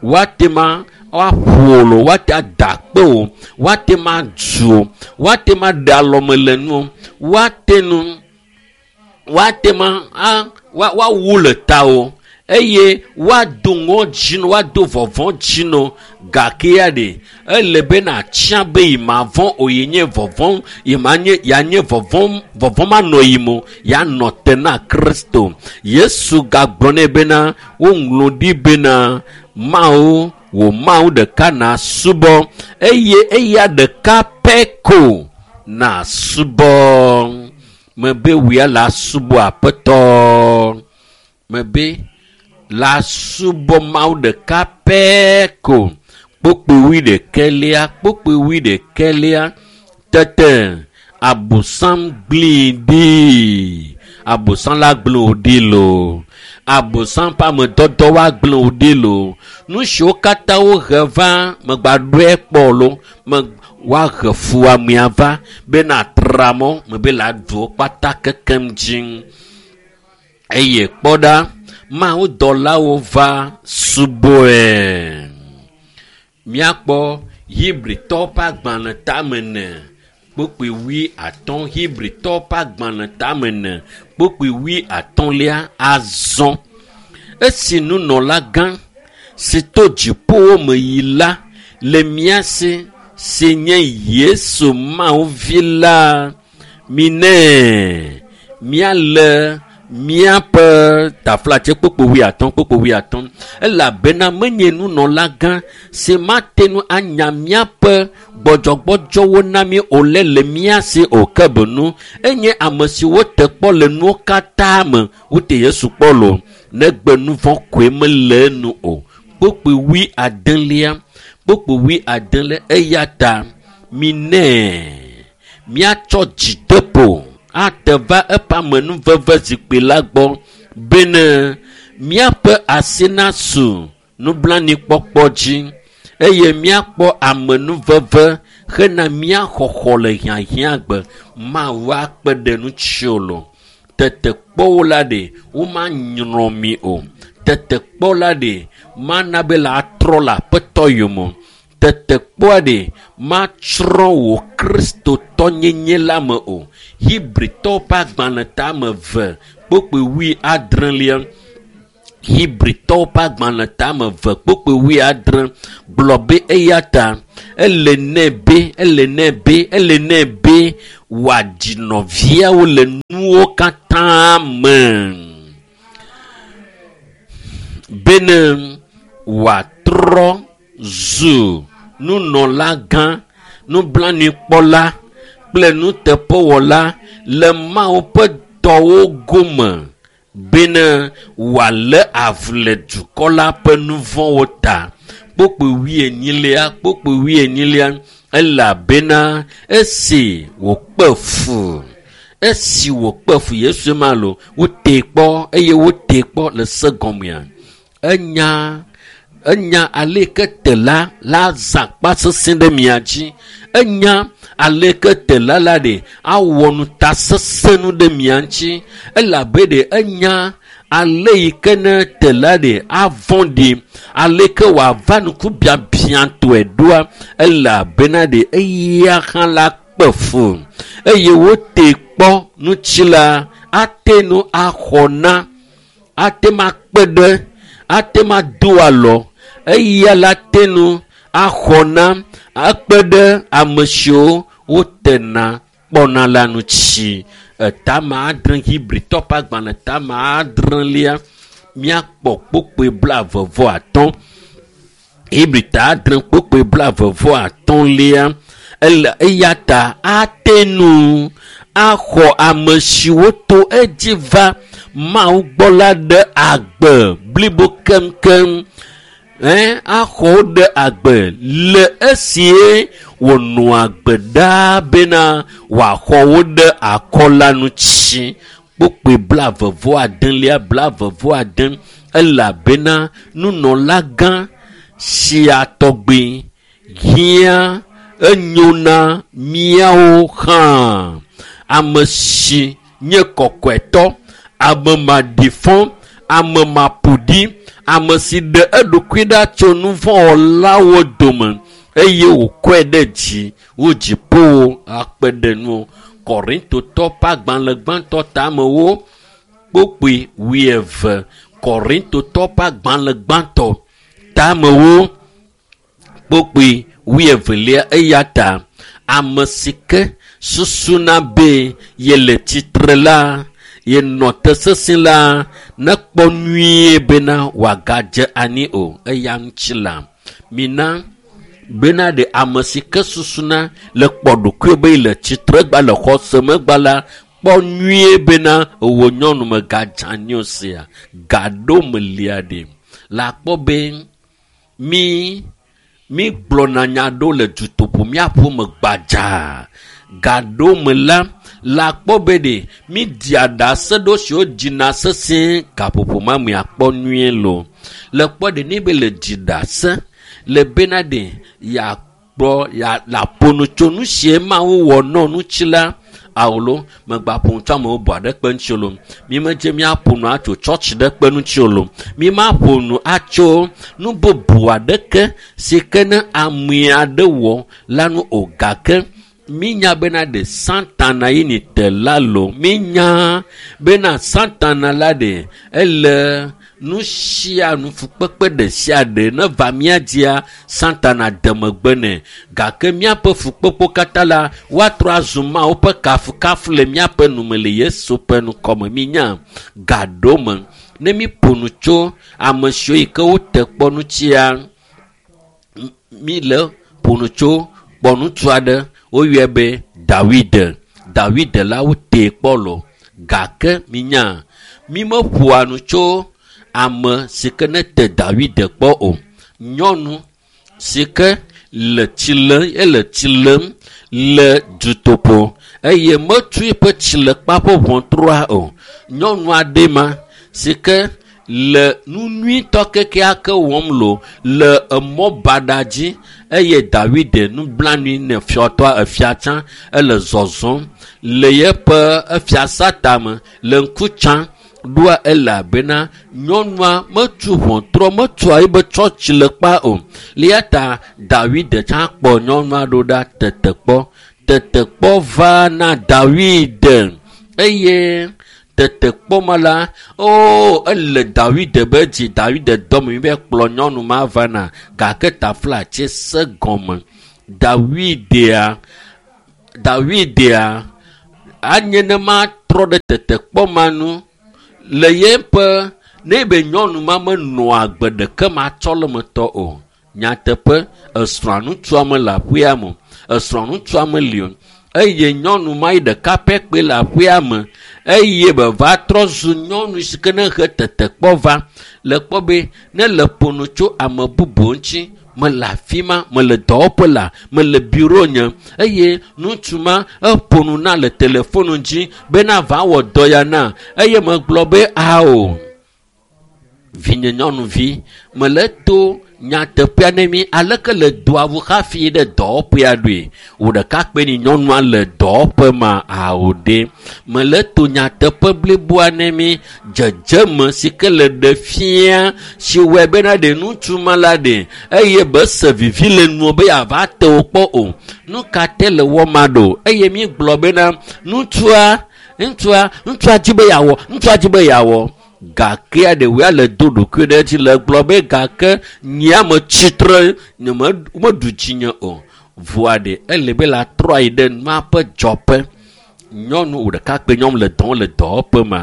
woate ma woaƒo lo woate ada akpe o woate ma dzu o woate ma ɖe alɔme le nu o woate nu woate ma a woawu le ta o eye woado ŋɔdzi no woado vɔvɔ̃ dzi no gake ya ɖe ele be natsia be yi ma vɔ̃ o yi nye vɔvɔ̃ yi ma nye ya nye vɔvɔ̃ vɔvɔ̃ manɔ yi mo ya nɔ te na kristo yesu gagblɔ nɛ bena woŋlɔ ɖi bena mawu wò mawu ɖeka na subɔ eye eya ɖeka pɛ ko na subɔ mebe wòya la subɔ aƒetɔ mebe la subɔ mawu ɖeka pɛ ko kpokpoe wuiɖekɛlia kpokpoe wuiɖekɛlia tete abosam gblẽe ɖi abosam la gblẽ wò ɖi loo abosam ƒe amedɔdɔ woagblẽ wò ɖi loo nu siwo katã wohe va megbaɖoe kpɔ lo me woahe fuwɔamea va bena atra mɔ mebe le aɖu wo kpata kekem dzi eye kpɔ ɖa mawudɔlawo va subɔe míakpɔ hebritɔwo ƒe agbalẽ tame ne kpokpoe wui atɔ̃ hebritɔwo ƒe agbalẽ tame ne kpokpoe wui atɔ̃lia azɔ esi nunɔla gã si to dziƒowo me yi la le mía si si nye Yesu Mawu vi la minɛ míalé míaƒe taflatse kpokpo wuiatɔ̃ kpokpo wuiatɔ̃ elabena menye nunɔla gã si mate ŋu anya míaƒe gbɔdzɔgbɔdzɔwo na mí o le le mía si o ke benu enye ame si wote kpɔ le nuwo katã me wote Yesu kpɔ lo negbe nu vɔ̃ koe mele enu o kpokpo wui adelia kpokpo wui adelia eya ta minɛ míatsɔ dzideƒo ate va eƒe amenuveve zikpui la gbɔ bene míaƒe asi nasu nublanuikpɔkpɔ dzi eye míakpɔ amenuveve hena mía xɔxɔ le hiahiãgbe mawu akpe ɖe ŋutiwò lo tetekpɔwo la ɖe womanyrɔ mi o tetekpɔ la ɖe mana be la atrɔ le aƒetɔ yome o tetekpɔa ɖe matsrɔ̃ wò kristotɔnyenye la me o hebritɔwo ƒe agbalẽ tame ve kpokpoe wui adrelia hebritɔwo ƒe agbalẽ tame ve kpokpoe wui adre gblɔ be eya ta ele nɛ be ele nɛ be ele nɛ be wòadzi nɔviawo le nuwo katã me. Bene wòatrɔ zu nunɔlagã, nublanuikpɔla kple nuteƒewɔla le Mawu ƒe dɔwo gome bene wòalé avu le dukɔ la ƒe nu vɔ̃wo ta. Kpokpo wuienyilia, kpokpo wuienyilia, elabena esi wòkpe fu, esi wòkpe fu Yesu ma lo, wotee kpɔ eye wotee kpɔ le se gɔmea. Enya enya aleke tela la zã kpa sesẽ ɖe mia dzi. Enya aleke tela la ɖe awɔ nutasesẽ nu ɖe mia ŋuti. Elabe ɖe enya ale yi ke ne tela ɖe avɔ̃ ɖi, aleke wòava nuku biabiatɔe ɖoa, elabena ɖe eya hã la kpe fu eye wotee kpɔ ŋuti la ate nu axɔ na, ate ma kpe ɖe, ate ma do alɔ, eya la te nu axɔ na akpe ɖe ame siwo wotena kpɔna la ŋuti. Etame adre Hebritɔ ƒe agbalẽ tame adrelia míakpɔ kpokpoe 35. Hebrita 6 kpokpoe 35lia ele eya ta ate nu axɔ ame siwo to edzi va Mawu gbɔ la ɖe agbe blibo keŋkeŋ. Axɔ wo ɖe agbe le esie wònɔa agbe ɖaa bena wòaxɔ wo ɖe akɔ la ŋuti. Kpokpoe 36lia 36 elabena nunɔlagã sia tɔgbi hiã enyo na míawo hã. Ame si nye kɔkɔetɔ, ame maɖifɔ, ame maƒoɖi, ame si ɖe eɖokui ɖa tso nuvɔ̃wɔlawo dome eye wòkɔe ɖe dzi wo dziƒowo akpe ɖe nu. Korintotɔ ƒe agbalẽ gbãtɔ tamewo kpokpoe 20. Korintotɔ ƒe agbalẽ gbãtɔ tamewo kpokpoe 22 eya ta ame si ke susuna be yele tsitre la, yenɔ te sesẽ la, nekpɔ nyuie bena wòagadze anyi o. Eya ŋuti la, mina bena ɖe ame si ke susuna le kpɔ ɖokuiwo be yele tsitre gba le xɔse megba la, kpɔ nyuie bena wò nyɔnu megadze anyi o sia. Gaɖo melia ɖe la kpɔ be mi gblɔna nya ɖewo le dutoƒo míaƒe me gbadzaa. Gaɖo me la, la kpɔ be ɖe mi dia ɖase ɖewo siwo dzina sesẽ gaƒoƒo ma me akpɔ nyuie lo. Le kpɔ ɖe ne be le dzi ɖase le bena ɖe yakpɔ ya la ƒo nu tso nu sie Mawu wɔ nɔ ŋuti la, awolo megba ƒo nu tso amewo bɔ aɖe kpe ŋuti o lo. Mi medze míaƒo nu atso tsɔtsi ɖe kpe ŋuti o lo. Mi ma ƒo nu atso nu bubu aɖeke si ke ne ame aɖe wɔ la nu o, gake minya bena ɖe Satana yi ni te la lo. Minya bena Satana la ɖe ele nu sia nu fukpekpe ɖe sia ɖe ne va mía dzia, Satana de megbe nɛ. Gake míaƒe fukpekpewo katã la, woatrɔ azu Mawu ƒe kafukafu le míaƒe nume le Yesu ƒe ŋkɔme. Minya gaɖo me ne mi ƒo nu tso ame siwo yi ke wote kpɔ ŋutia, mi le ƒo nu tso kpɔ ŋutsu aɖe woyɔe be Dawide. Dawide la wotee kpɔ lo. Gake minya mi meƒoa nu tso ame si ke ne te Dawide kpɔ o. Nyɔnu si ke le tsi lem, ele tsi lem le dutoƒo eye metu eƒe tsilekpa ƒe ʋɔtrua o. Nyɔnu aɖe ma si ke le nu nyuitɔ kekeake wɔm lo le emɔ baɖa dzi eye Dawide nublanui ne fiɔtɔa efia tsã ele zɔzɔm le yeƒe efiasa tame le ŋku tsam ɖoa elabena nyɔnua metu ʋɔtrɔ metua ebe tsɔ tsilekpa o. Eya ta Dawide tsã kpɔ nyɔnua ɖo ɖa tetekpɔ. Tetekpɔ va na Dawide eye tetekpɔ ma la, o ele Dawide be dzi. Dawide dɔme be kplɔ nyɔnu ma va na, gake taflatse se gɔme. Dawidea anye ne ma trɔ ɖe tetekpɔ ma nu le yeƒe Ne be nyɔnu ma menɔa agbe ɖeke matsɔ le metɔ o. Nyateƒe, esrɔ̃a ŋutsua mele aƒea me o. Esrɔ̃a ŋutsua meli o. Eye nyɔnu ma yi ɖeka pɛ kpe le aƒea me eye be va trɔ zu nyɔnu si ke ne he tetekpɔ va le kpɔ be ne le ƒo nu tso ame bubu ŋuti mele afi ma, mele dɔwɔƒe la, mele biro nye eye ŋutsu ma eƒo nu na le telefonu dzi bena va wɔ dɔ ya na eye megblɔ be ao vinye nyɔnuvi mele to nyateƒea ne mi aleke le doa ŋu hafi ɖe dɔwɔƒea ɖoe wò ɖeka kpe ni nyɔnua le dɔwɔƒe ma ao ɖe mele to nyateƒe bliboa ne mi dzedzeme si ke le ɖe fia si wɔe bena ɖe ŋutsu ma la ɖe eye be se vivi le nuo be yeava te wo kpɔ o nu ka te le wɔ ma ɖo eye mi gblɔ bena ŋutsua ŋutsua ŋutsua dzi be yeawɔ ŋutsua dzi be yeawɔ gake ɖewoa le do ɖokui ɖe edzi le gblɔ be gake nyea me tsitre nye me meɖu dzinye o voa ɖe ele be la trɔ ayi ɖe nua ƒe dzɔƒe nyɔnu wò ɖeka kpe nyɔnu le dɔm le dɔwɔƒe ma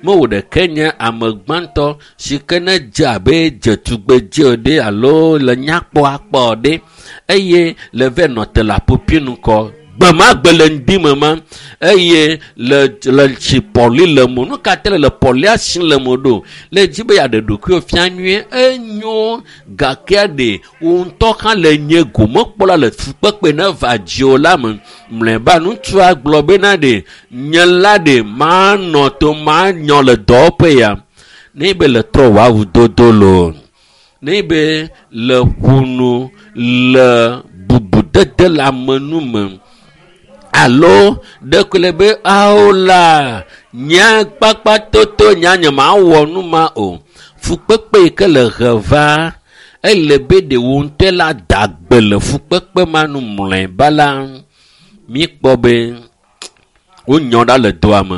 me wò ɖeke nye ame gbãtɔ si ke ne dze abe dzetugbedze o ɖe alo le nyakpɔ akpɔ o ɖe eye le vɛ nɔ te le aƒoƒi ŋkɔ gbe ma gbe le ŋdi me ma eye le le tsi pɔli le mo nu ka te le le pɔlia si le mo ɖo le dzi be yeaɖe ɖokuiwo fia nyuie enyo gakea ɖe wò ŋutɔ hã le nye gomekpɔla le fukpekpe ne va dziwò la me mlɔeba ŋutsua gblɔ bena ɖe nye la ɖe manɔ to manyɔ le dɔwɔƒe ya ne be le trɔ wò awu dodo loo ne be le ƒo nu le bubudede le ame nu me alo ɖeko le be awo la nye kpakpa toto nya nye mawɔ nu ma o fukpekpe yi ke le he va ele be ɖe wò ŋutɔ la da gbe le fukpekpe ma nu mlɔeba la míkpɔ be wonyɔ ɖa le doa me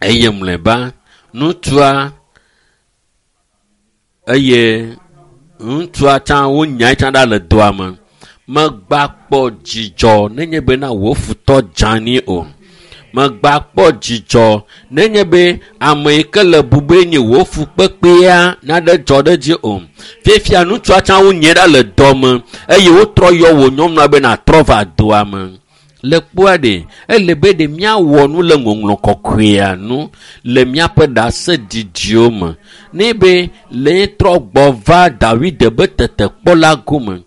eye mlɔeba ŋutsua eye ŋutsua tsã wonyae tsã ɖa le doa me megba kpɔ dzidzɔ nenye bena wò futɔ dzani o megba kpɔ dzidzɔ nenye be ame yi ke le bube nye wò fukpekpea naɖe dzɔ ɖe dzi o fifia ŋutsua tsã wonyae ɖa le dɔme eye wotrɔ yɔ wò nyɔnua be natrɔ va doa me le kpoa ɖe ele be ɖe míawɔ nu le ŋɔŋlɔ kɔkɔea nu le míaƒe ɖaseɖiɖiwo me ne be le trɔ gbɔ va Dawid be tetekpɔ la gome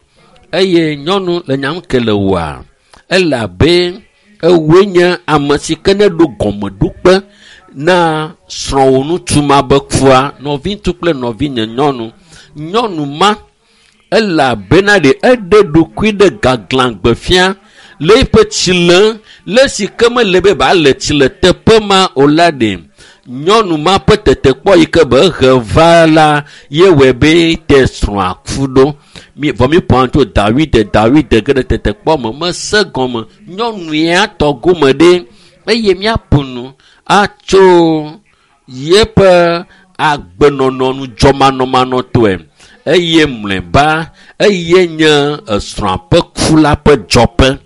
eye nyɔnu le nyam ke le wòa ele abe ewoe nye ame si ke ne ɖo gɔmeɖokpe na srɔ̃wò ŋutsu ma be kua nɔviŋutsu kple nɔvinye nyɔnu nyɔnu ma ele abena ɖe eɖe ɖokui ɖe gaglãgbe fia le eƒe tsi le le si ke mele be ba le tsi le teƒe ma o la ɖe nyɔnu ma ƒe tetekpɔ yi ke be he va la ye wɔe be te srɔ̃a ku ɖo mi vɔ mi ƒo tso Dawid Dawid ge ɖe tetekpɔ me mese gɔme nyɔnu ya tɔ gome ɖe eye míaƒo nu atso yeƒe agbenɔnɔ nudzɔmanɔmanɔtɔe eye mlɔeba eye nye esrɔ̃a ƒe ku la ƒe dzɔƒe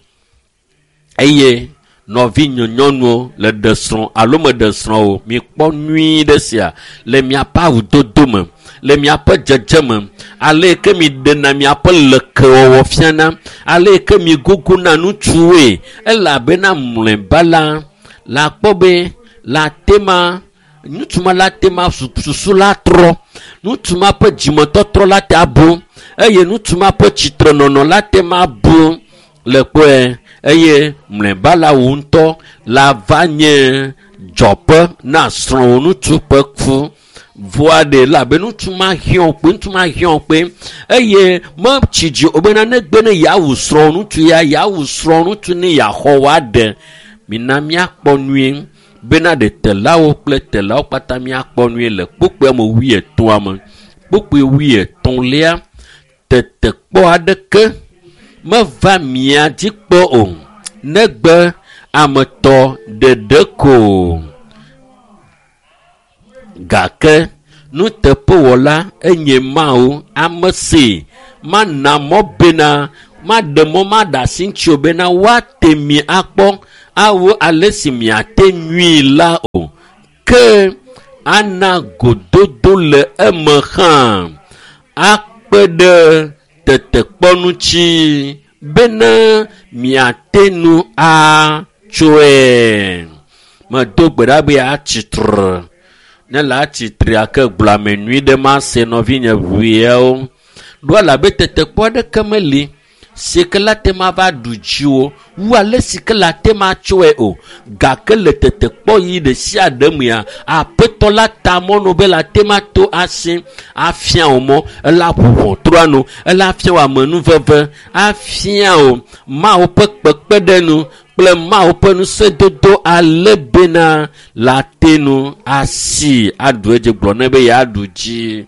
eye nɔvinye nyɔnuwo le ɖe srɔ̃ alo meɖe srɔ̃ o mikpɔ nyui ɖe sia le miaƒe awudodo me le miaƒe dzedzeme ale yi ke mi ɖena miaƒe lekewɔwɔ fiana ale yi ke mi guguna ŋutsuwoe elabena mlɔeba la la kpɔ be la tema ŋutsu ma la tema susu la trɔ ŋutsu ma ƒe dzimetɔtrɔ la te abu eye ŋutsu ma ƒe tsitrenɔnɔ la te ma bu le kpɔe eye mlɔeba la wò ŋutɔ la va nye dzɔƒe na srɔ̃wò ŋutsu ƒe ku voa ɖe la be ŋutsu ma hiã kpe ŋutsu ma hiã kpe eye metsi dzi o bena negbe ne yeawu srɔ̃wò ŋutsu ya yeawu srɔ̃wò ŋutsu ne yeaxɔ wòaɖe mina míakpɔ nyuie bena ɖe telawo kple telawo kpata míakpɔ nyuie le kpukpui me wuietɔ̃a me kpukpui wuietɔ̃lia tetekpɔ aɖeke meva mia dzi kpɔ o negbe ame tɔ ɖeɖe ko gake nuteƒewɔla enye Mawu ame si mana mɔ bena maɖe mɔ maɖe asi ŋuti o bena woate mi akpɔ awu ale si miate nyuie la o ke Ana gododo le eme hã akpe ɖe tetekpɔ ŋuti bena miate nu atsoe. Medo gbe ɖa be atsitre. Ne le atsitrea ke gblɔ ame nyui ɖe mase nɔvinye ʋuiawo. Ɖo elabe tetekpɔ aɖeke meli si ke la te ma va ɖu dziwò wu ale si ke la te ma tsɔe o. Gake le tetekpɔ yi ɖe sia ɖe mea, aƒetɔ la ta mɔnu be la te ma to asi afia wò mɔ. Ela ʋu ʋɔtrua nu, ela afia wò amenuveve, afia wò Mawu ƒe kpekpeɖeŋu kple Mawu ƒe ŋusẽdodo ale bena la te nu asi aɖu edzi. Gblɔ nɛ be yeaɖu dzi.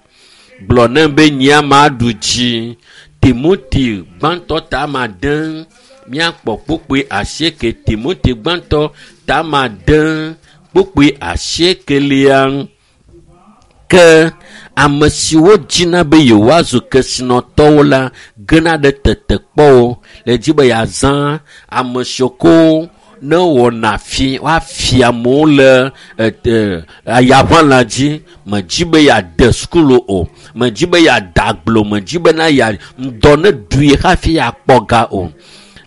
Gblɔ nɛ be nyea maɖu dzi. Timoti gbãtɔ ta ma de míakpɔ kpukpui asieke. Timoti gbãtɔ ta ma de kpukpui asiekelia. Ke ame siwo dzina be yewoazu kesinɔtɔwo la gena ɖe tetekpɔwo le dzi be yeazã ame siwo ko ne wɔna fi woafia amewo le ayaʋãla dzi. Medzi be yeade sukulu o, medzi be yeade agble o, medzi bena ya ŋdɔ ne ɖui hafi yeakpɔ ga o.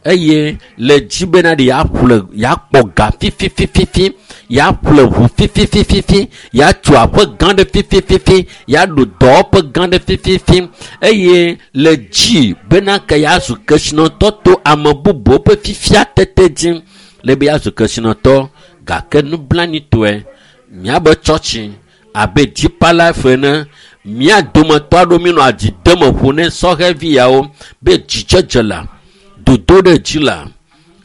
Eye le dzi bena ɖe yeaƒle yeakpɔ ga fififififi, yeaƒle ʋu fififififi, yeatu aƒe gã ɖe fifififi, yeaɖo dɔwɔƒe gã ɖe fififi. Eye le dzi bena ke yeazu kesinɔtɔ to ame bubuwo ƒe fifia tete dzi le be yeazu kesinɔtɔ. Gake nublanitɔe miabe tsɔtsi abe Deeper Life ene, mía dometɔ aɖewo míenɔ adzi dem ƒo ne sɔhɛvi yawo be dzidzedze la, dodo ɖe dzi la,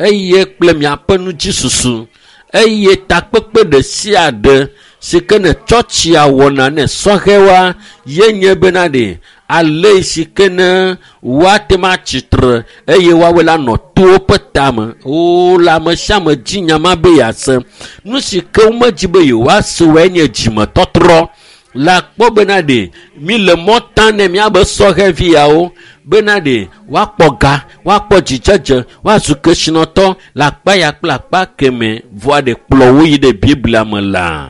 eye kple miaƒe nudzisusu, eye takpekpe ɖe sia ɖe si ke ne tsɔtsia wɔna ne sɔhɛwoa, ye nye bena ɖe ale si ke ne woate ma atsitre eye woawoe la nɔ towo ƒe tame. O le ame sia ame dzi nya ma be yease. Nu si ke womedzi be yewoase woe nye dzimetɔtrɔ. La kpɔ bena ɖe mi le mɔ tam ne miabe sɔhɛvi yawo bena ɖe woakpɔ ga, woakpɔ dzidzedze, woazu kesinɔtɔ le akpa ya kple akpa keme vɔa ɖe kplɔ wo yi ɖe Biblia me la.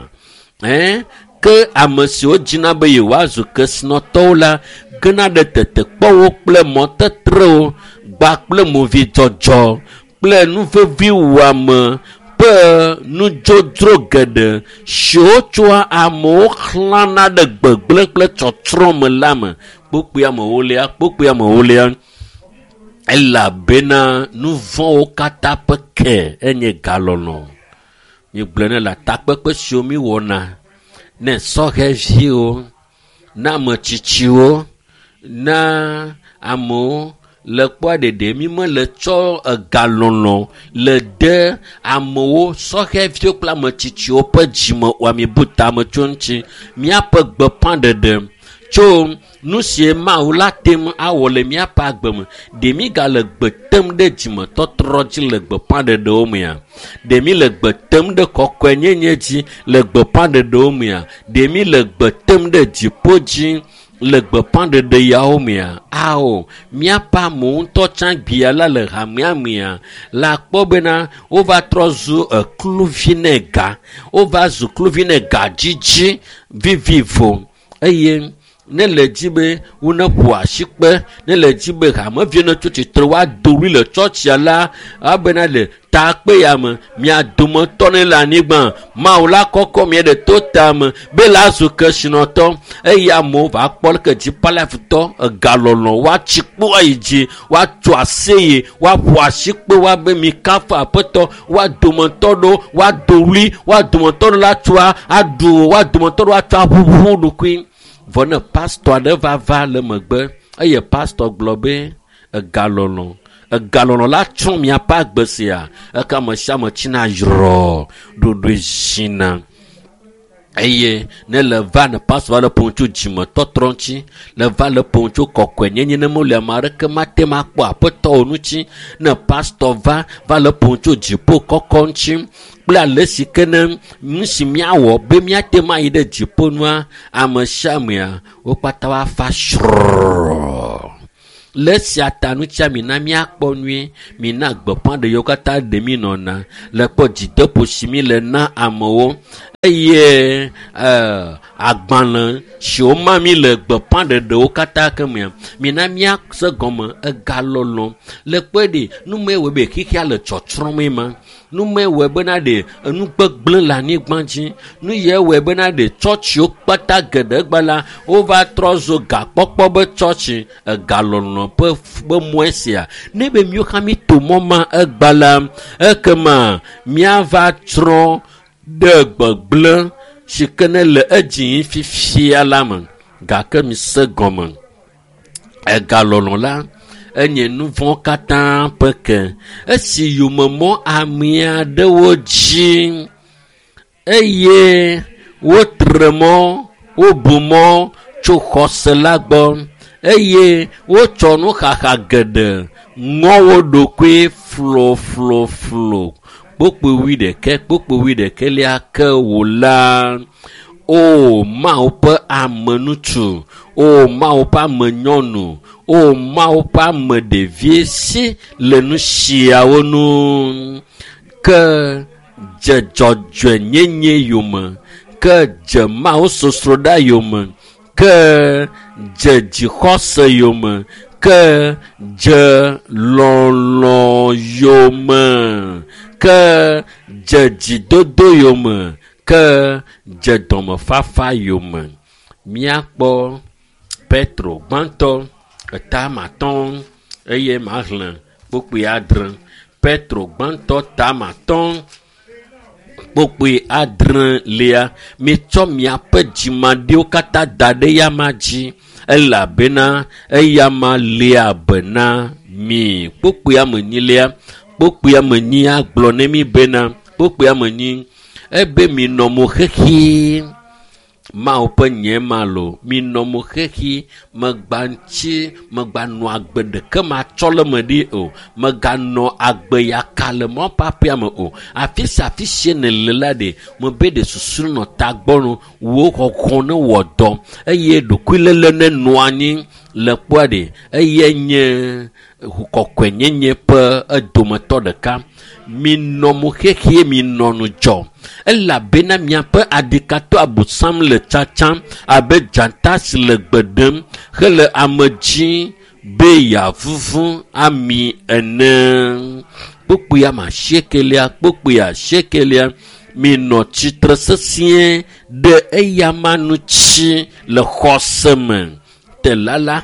Ke ame siwo dzina be yewoazu kesinɔtɔwo la gena ɖe tetekpɔwo kple mɔtetrewo gba kple movidzɔdzɔ kple nuveviwɔame ƒe nudzodzro geɖe siwo tsoa amewo xlãna ɖe gbegblẽ kple tsɔtsrɔ̃ me la me. Kpukpui amewolia, kpukpui amewolia. Elabena nu vɔ̃wo katã ƒe ke enye galɔlɔ. Míegblɔe ne le takpekpe siwo míwɔna ne sɔhɛviwo, na ame tsitsiwo, na amewo le kpɔa ɖeɖe mi mele tsɔ egalɔlɔ le de amewo sɔhɛviwo kple ame tsitsiwo ƒe dzime o. Mibu tame tso ŋuti. Míaƒe gbeƒãɖeɖe tso nu sie Mawu la te ŋu awɔ le míaƒe agbe me. Ɖe mi gale gbe tem ɖe dzimetɔtrɔ dzi le gbeƒãɖeɖewo mea? Ɖe mi le gbe tem ɖe kɔkɔenyenye dzi le gbeƒãɖeɖewo mea? Ɖe mi le gbe tem ɖe dziƒo dzi le gbeƒãɖeɖe yawo mea? Ao, míaƒe amewo ŋutɔ tsã gbia la le hamea mea la kpɔ bena wova trɔ zu ekluvi ne ga. Wova zu kluvi ne ga dzidzi vivivo. Eye ne le dzi be wone ƒo asikpe, ne le dzi be hameviwo ne tso tsitre woado ɣli le tsɔtsia la, abena le takpe ya me, mia dometɔ ne le anyigba, Mawu la kɔkɔ mia ɖe to tame be la zu kesinɔtɔ. Eye amewo va kpɔ leke Deeper Life tɔ egalɔlɔ woatsi kpo ayi dzi, woatso aseye, woaƒo asikpe, woabe mi kafu aƒetɔ, woa dometɔ ɖewo woado ɣli, woa dometɔ ɖewo la tsoa aɖu, woa dometɔ ɖewo atsɔ aʋuʋu ɖokui. Vɔ ne pastɔ aɖe va va le megbe eye pastɔ gblɔ be egalɔlɔ, egalɔlɔ la tsrɔ̃ miaƒe agbe sia, eke ame sia ame tsina yrɔ ɖoɖoe zina. Eye ne le va ne pastɔ va le ƒom tso dzimetɔtrɔ ŋuti, le va le ƒom tso kɔkɔenyenye ne mele ame aɖeke mate ŋu akpɔ aƒetɔ o ŋuti, ne pastɔ va le ƒom tso dziƒo kɔkɔ ŋuti kple ale si ke ne nu si míawɔ be míate ŋu ayi ɖe dziƒo nua, ame sia amea wo kpata woafa srɔ̃. Le esia ta ŋutia mina míakpɔ nyuie, mina gbeƒãɖeɖewo katã ɖe mí nɔna le kpɔ dzideƒo si mí le na amewo. Eye agbalẽ siwo ma mi le gbeƒãɖeɖewo katã ke mea, mina míase gɔme egalɔlɔ. Le kpɔe ɖi, nume wɔe be xexea le tsɔtsrɔ̃m ma. Nume wɔe bena ɖe enu gbegblẽ le anyigba dzi. Nu ye wɔe bena ɖe tsɔtsiwo kpata geɖe gba la, wova trɔ zu gakpɔkpɔ be tsɔtsi egalɔlɔ ƒe be mɔe sia. Ne be míwo hã míto mɔ ma egba la, ekema míava tsrɔ̃ ɖe gbegblẽ si ke ne le edzi fifia la me. Gake mise gɔme. Egalɔlɔ la enye nu vɔ̃ katã ƒe ke. Esi yomemɔ ame aɖewo dzi eye wotre mɔ, wobu mɔ tso xɔse la gbɔ eye wotsɔ nuxaxa geɖe ŋɔ wo ɖokui flofloflo. Kpokpo wuiɖekɛ, kpokpo wuiɖekɛlia ke wò la. O Mawu ƒe ame ŋutsu, o Mawu ƒe ame nyɔnu, o Mawu ƒe ame ɖevi si le nu siawo nu. Ke dze dzɔdzɔenyenye yome, ke dze Mawu sosroɖa yome, ke dze dzixɔse yome, ke dze lɔlɔ yome, ke dze dzidodo yome, ke dze dɔmefafa yome. Míakpɔ Petro gbãtɔ etama atɔ̃ eye maxlẽ kpukpui adre. Petro gbãtɔ tama atɔ̃ kpukpui adrelia. Mitsɔ miaƒe dzimaɖiwo katã da ɖe eyama dzi elabena eyama lia be na mi. Kpukpui ame enyilia, kpukpui ame enyi agblɔ ne mi bena kpukpui ame enyi ebe minɔ mo xexi. Mawu ƒe nye ma lo, minɔ mo xexi, megba ŋuti, megbanɔ agbe ɖeke matsɔ le me ɖi o, meganɔ agbe yaka le mɔ ƒaƒea me o. Afi sia afi si nèle la ɖe, mebe ɖe susu nɔ tagbɔ no, wò xɔxɔ ne wɔ dɔ eye ɖokuiléle ne nɔ anyi le kpɔa ɖe, eye nye kɔkɔenyenye ƒe edometɔ ɖeka. Minɔ mo xexi, minɔ ŋudzɔ elabena miaƒe adikatɔ abosam le tsatsam abe dzata si le gbe ɖem hele ame dzi be yeavuvu ami ene. Kpukpui ame asiekelia, kpukpui asiekelia, minɔ tsitre sesĩe ɖe eyama ŋuti le xɔse me. Tela la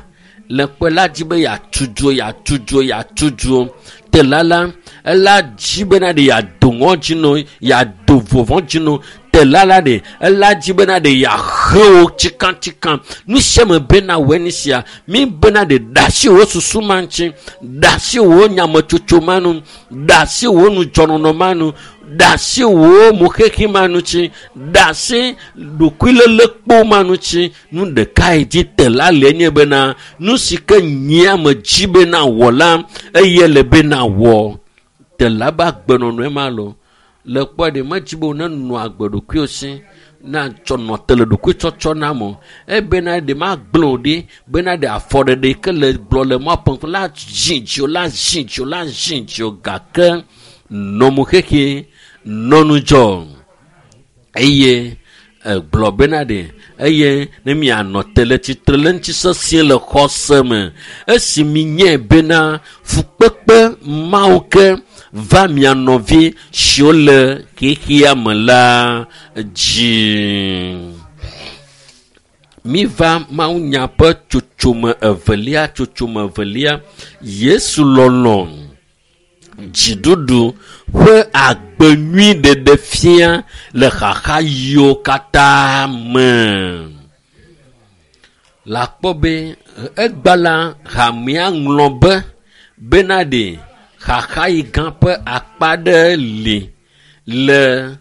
le kpe la dzi be yeatu dzo, yeatu dzo, yeatu dzo. Tela la ela dzi bena ɖe yeado ŋɔdzi no, yeado vɔvɔ̃ dzi no. Tela la ɖe ela dzi bena ɖe yeahe wo tsikatsika. Nu sia me bena wɔe nu sia. Mi bena ɖe ɖe asi wò susu ma ŋuti, ɖe asi wò nyametsotso ma nu, ɖe asi wò nudzɔnɔnɔ ma nu, ɖe asi wò moxexi ma ŋuti, ɖe asi ɖokuilélekpo ma ŋuti. Nu ɖekae dzi tela le nye bena nu si ke nyia me dzi bena wɔ la, eye le bena wɔ. Tela be agbenɔnɔe ma lo. Le kpɔe ɖe medzi be wònenɔ agbe ɖokuiwò si na tsɔ nɔ te le ɖokuitsɔtsɔ na me o. Ebena ɖe magblẽ wò ɖi bena ɖe afɔɖeɖe yi ke le gblɔ le mɔ ƒe la zi dziwò, la zi dziwò, la zi dziwò gake nɔ mo xexi, nɔ ŋudzɔ eye egblɔ bena ɖe eye ne mianɔ te le tsitre le ŋuti sesĩe le xɔse me. Esi minyae bena fukpekpe mawo ke va mia nɔvi siwo le xexea me la dzi. Miva mawunya ƒe tsotsome evelia, tsotsome evelia, Yesu lɔlɔ dziɖuɖu ƒe agbe nyui ɖeɖe fia le xaxa yiwo katã me. Le akpɔ be egba la hamea ŋlɔ be bena ɖe xaxa yi gã ƒe akpa ɖe li le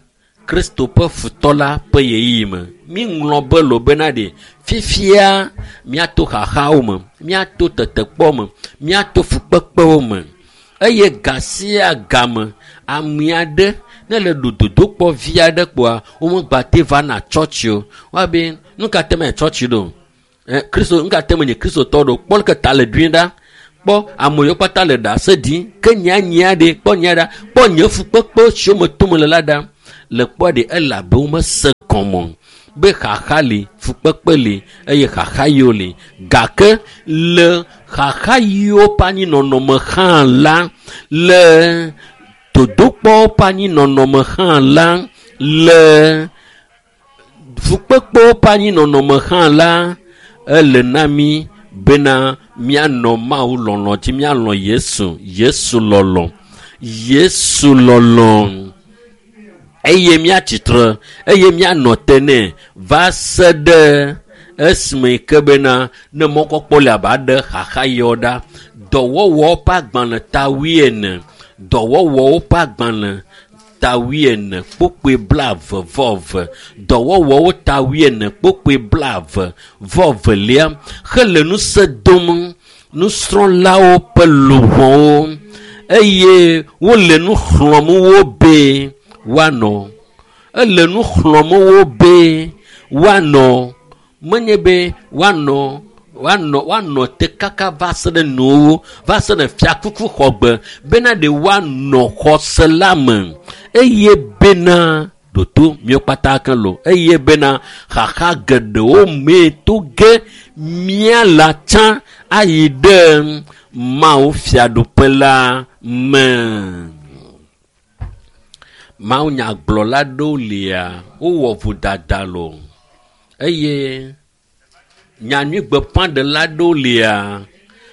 Kristo ƒe futɔ la ƒe ɣeyiɣi me. Mi ŋlɔ be lo bena ɖe fifia míato xaxawo me, míato tetekpɔ me, míato fukpekpewo me eye ga sia game ame aɖe ne le ɖo dodokpɔ vi aɖe kpoa womegbate va na tsɔtsi o. Woabe nu ka te me tsɔtsi ɖo? Kristo nu ka te menye kristotɔ ɖo? Kpɔ leke ta le ɖui ɖa. Kpɔ ame yiwo kpata le ɖase ɖim ke nyea nyea ɖe kpɔ nyea ɖa. Kpɔ nye fukpekpe siwo me tom le la ɖa. Le kpɔ ɖe elabe womese gɔme be xaxa li, fukpekpe li eye xaxa yiwo li. Gake le xaxa yiwo ƒe anyinɔnɔme hã la, le dodokpɔwo ƒe anyinɔnɔme hã la, le fukpekpewo ƒe anyinɔnɔme hã la, ele na mí bena míanɔ Mawu lɔlɔ dzi, míalɔ Yesu, Yesu lɔlɔ, Yesu lɔlɔ. Eye míatsitre eye míanɔ te nɛ va se ɖe esime ke bena ne mɔkpɔkpɔ le abe aɖe xaxa yiwo ɖa. Dɔwɔwɔwo ƒe agbalẽ ta 40, dɔwɔwɔwo ƒe agbalẽ ta 40 kpukpui 22, dɔwɔwɔwo ta 40 kpukpui 22 hele ŋusẽ dom nusrɔ̃lawo ƒe luʋɔwo eye wole nu xlɔ̃m wo be woanɔ. Ele nu xlɔ̃m wo be woanɔ. Menye be woanɔ woanɔ te kaka va se ɖe nuwo, va se ɖe fiakuku xɔgbe bena ɖe woanɔ xɔse la me eye bena ɖoto míawo kpata ke lo eye bena xaxa geɖewo mee to ge mía la tsã ayi ɖe Mawu fiaɖuƒe la me. Mawu nyagblɔla ɖewo lia wowɔ vodada lo eye nyanyuigbeƒãɖela ɖewo lia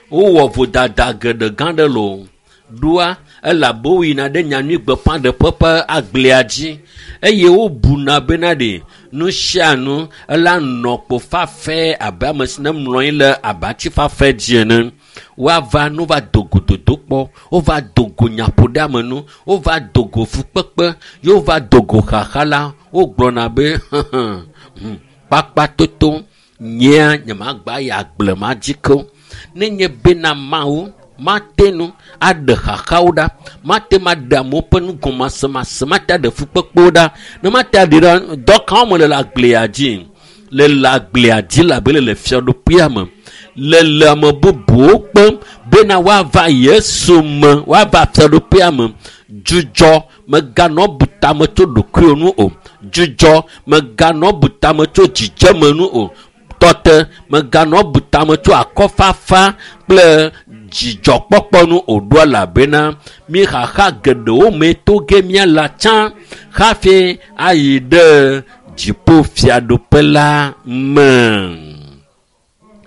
wowɔ vodada geɖe gã ɖe lo. Ɖoa elabe woyina ɖe nyanyuigbeƒãɖeƒe ƒe agblea dzi eye wobuna bena ɖe nu sia nu ela nɔ kpo fafɛ abe ame si ne mlɔ anyi le abatsi fafɛ dzi ene. Woava nu va do go dodokpɔ, wova do go nyaƒoɖeamenu, wova do go fukpekpe, ye wova do go xaxa la, wogblɔna be kpakpatoto nyea nyemagba yi agble ma dzi ke o. Nenye bena Mawu mate nu aɖe xaxawo ɖa, mate ma ɖe amewo ƒe nugɔmasemase, mate aɖe fukpekpewo ɖa, ne mate aɖe ɖa dɔ kawo me le le agblea dzi, le le agblea dzi le abe le le fiaɖuƒea me, le le ame bubuwo kpem bena woava Yesu me, woava fiaɖuƒea me. Dzudzɔ meganɔ bu tame tso ɖokuiwò nu o. Dzudzɔ meganɔ bu tame tso dzidzeme nu o. Tɔte meganɔ bu tame tso akɔfafa kple dzidzɔkpɔkpɔ nu o ɖo elabena mi xaxa geɖewo me to ge míala tsã hafi ayi ɖe dziƒo fiaɖuƒe la me.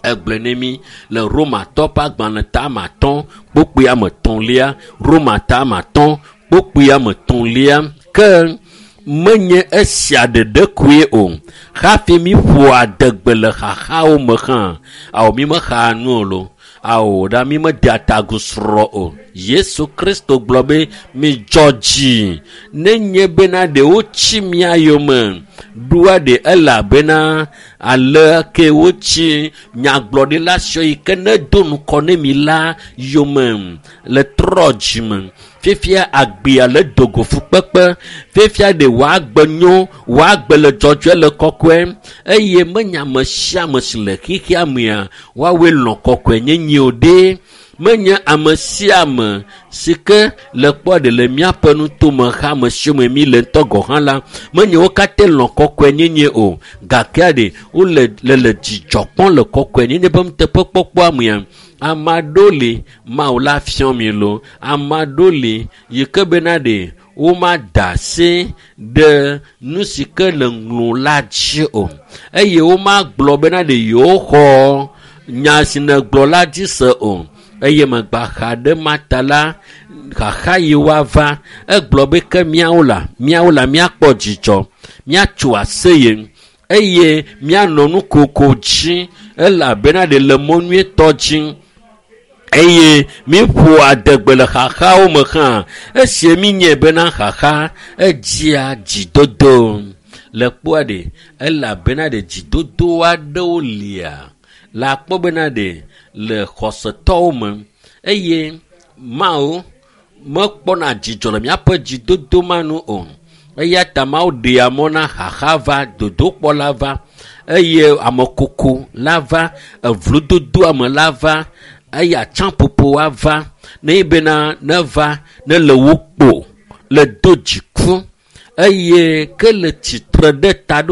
Egblɔe ne mí le Romatɔ ƒe agbalẽ ta 5 kpukpui 3, Roma ta 5 kpukpui 3 ke menye esia ɖeɖe koe o hafi mi ƒo adegbe le xaxawo me hã. Awo mi mexaa nu o lo. Awo ɖa mi medea ta agu srɔ̃ o. Yesu Kristo gblɔ be midzɔ dzi nenye bena ɖe wotsi mia yome ɖoa ɖe elabena ale ke wotsi nyagblɔɖila siwo yi ke ne do ŋkɔ ne mi la yome le trɔ dzime. Fifia agbea le dogo fukpekpe, fifia ɖe wòagbe nyo, wòagbe le dzɔdzɔe le kɔkɔe eye menye ame sia ame si le xexea mea woawoe lɔ̃ kɔkɔe nyenye o ɖe. Menye ame sia ame si ke le kpɔ ɖe le míaƒe nutome xa ame siwo me mi le ŋutɔ gɔ̃ hã la, menye wo katã lɔ̃ kɔkɔe nyenye o. Gake ɖe wole le le dzidzɔ kpɔm le kɔkɔe nyenye ƒe nuteƒekpɔkpɔa mea. Ame aɖewo li Mawu la fiɔ mi lo. Ame aɖewo li yi ke bena ɖe womada asi ɖe nu si ke le ŋlɔ la dzi o eye womagblɔ bena ɖe yewoxɔ nya si negblɔ la dzi se o. Eye megba xa ɖe mata la xaxa yi woava egblɔ be ke míawo la míakpɔ dzidzɔ, míatso aseye eye míanɔ nukoko dzi elabena ɖe le mɔ nyuietɔ dzi eye míƒo adegbe le xaxawo me hã. Esie mínyae bena xaxa edzia dzidodo. Le kpɔa ɖe elabena ɖe dzidodo aɖewo lia le akpɔ bena ɖe le xɔsetɔwo me eye Mawu mekpɔna dzidzɔ le míaƒe dzidodo ma nu o. Eya ta Mawu ɖea mɔ na xaxa va, dodokpɔ la va eye amekoko la va, evlododo ame la va eye atsaƒoƒo ava ne bena neva ne le wo kpo le do dziku. Eye ke le tsitre ɖe taɖo.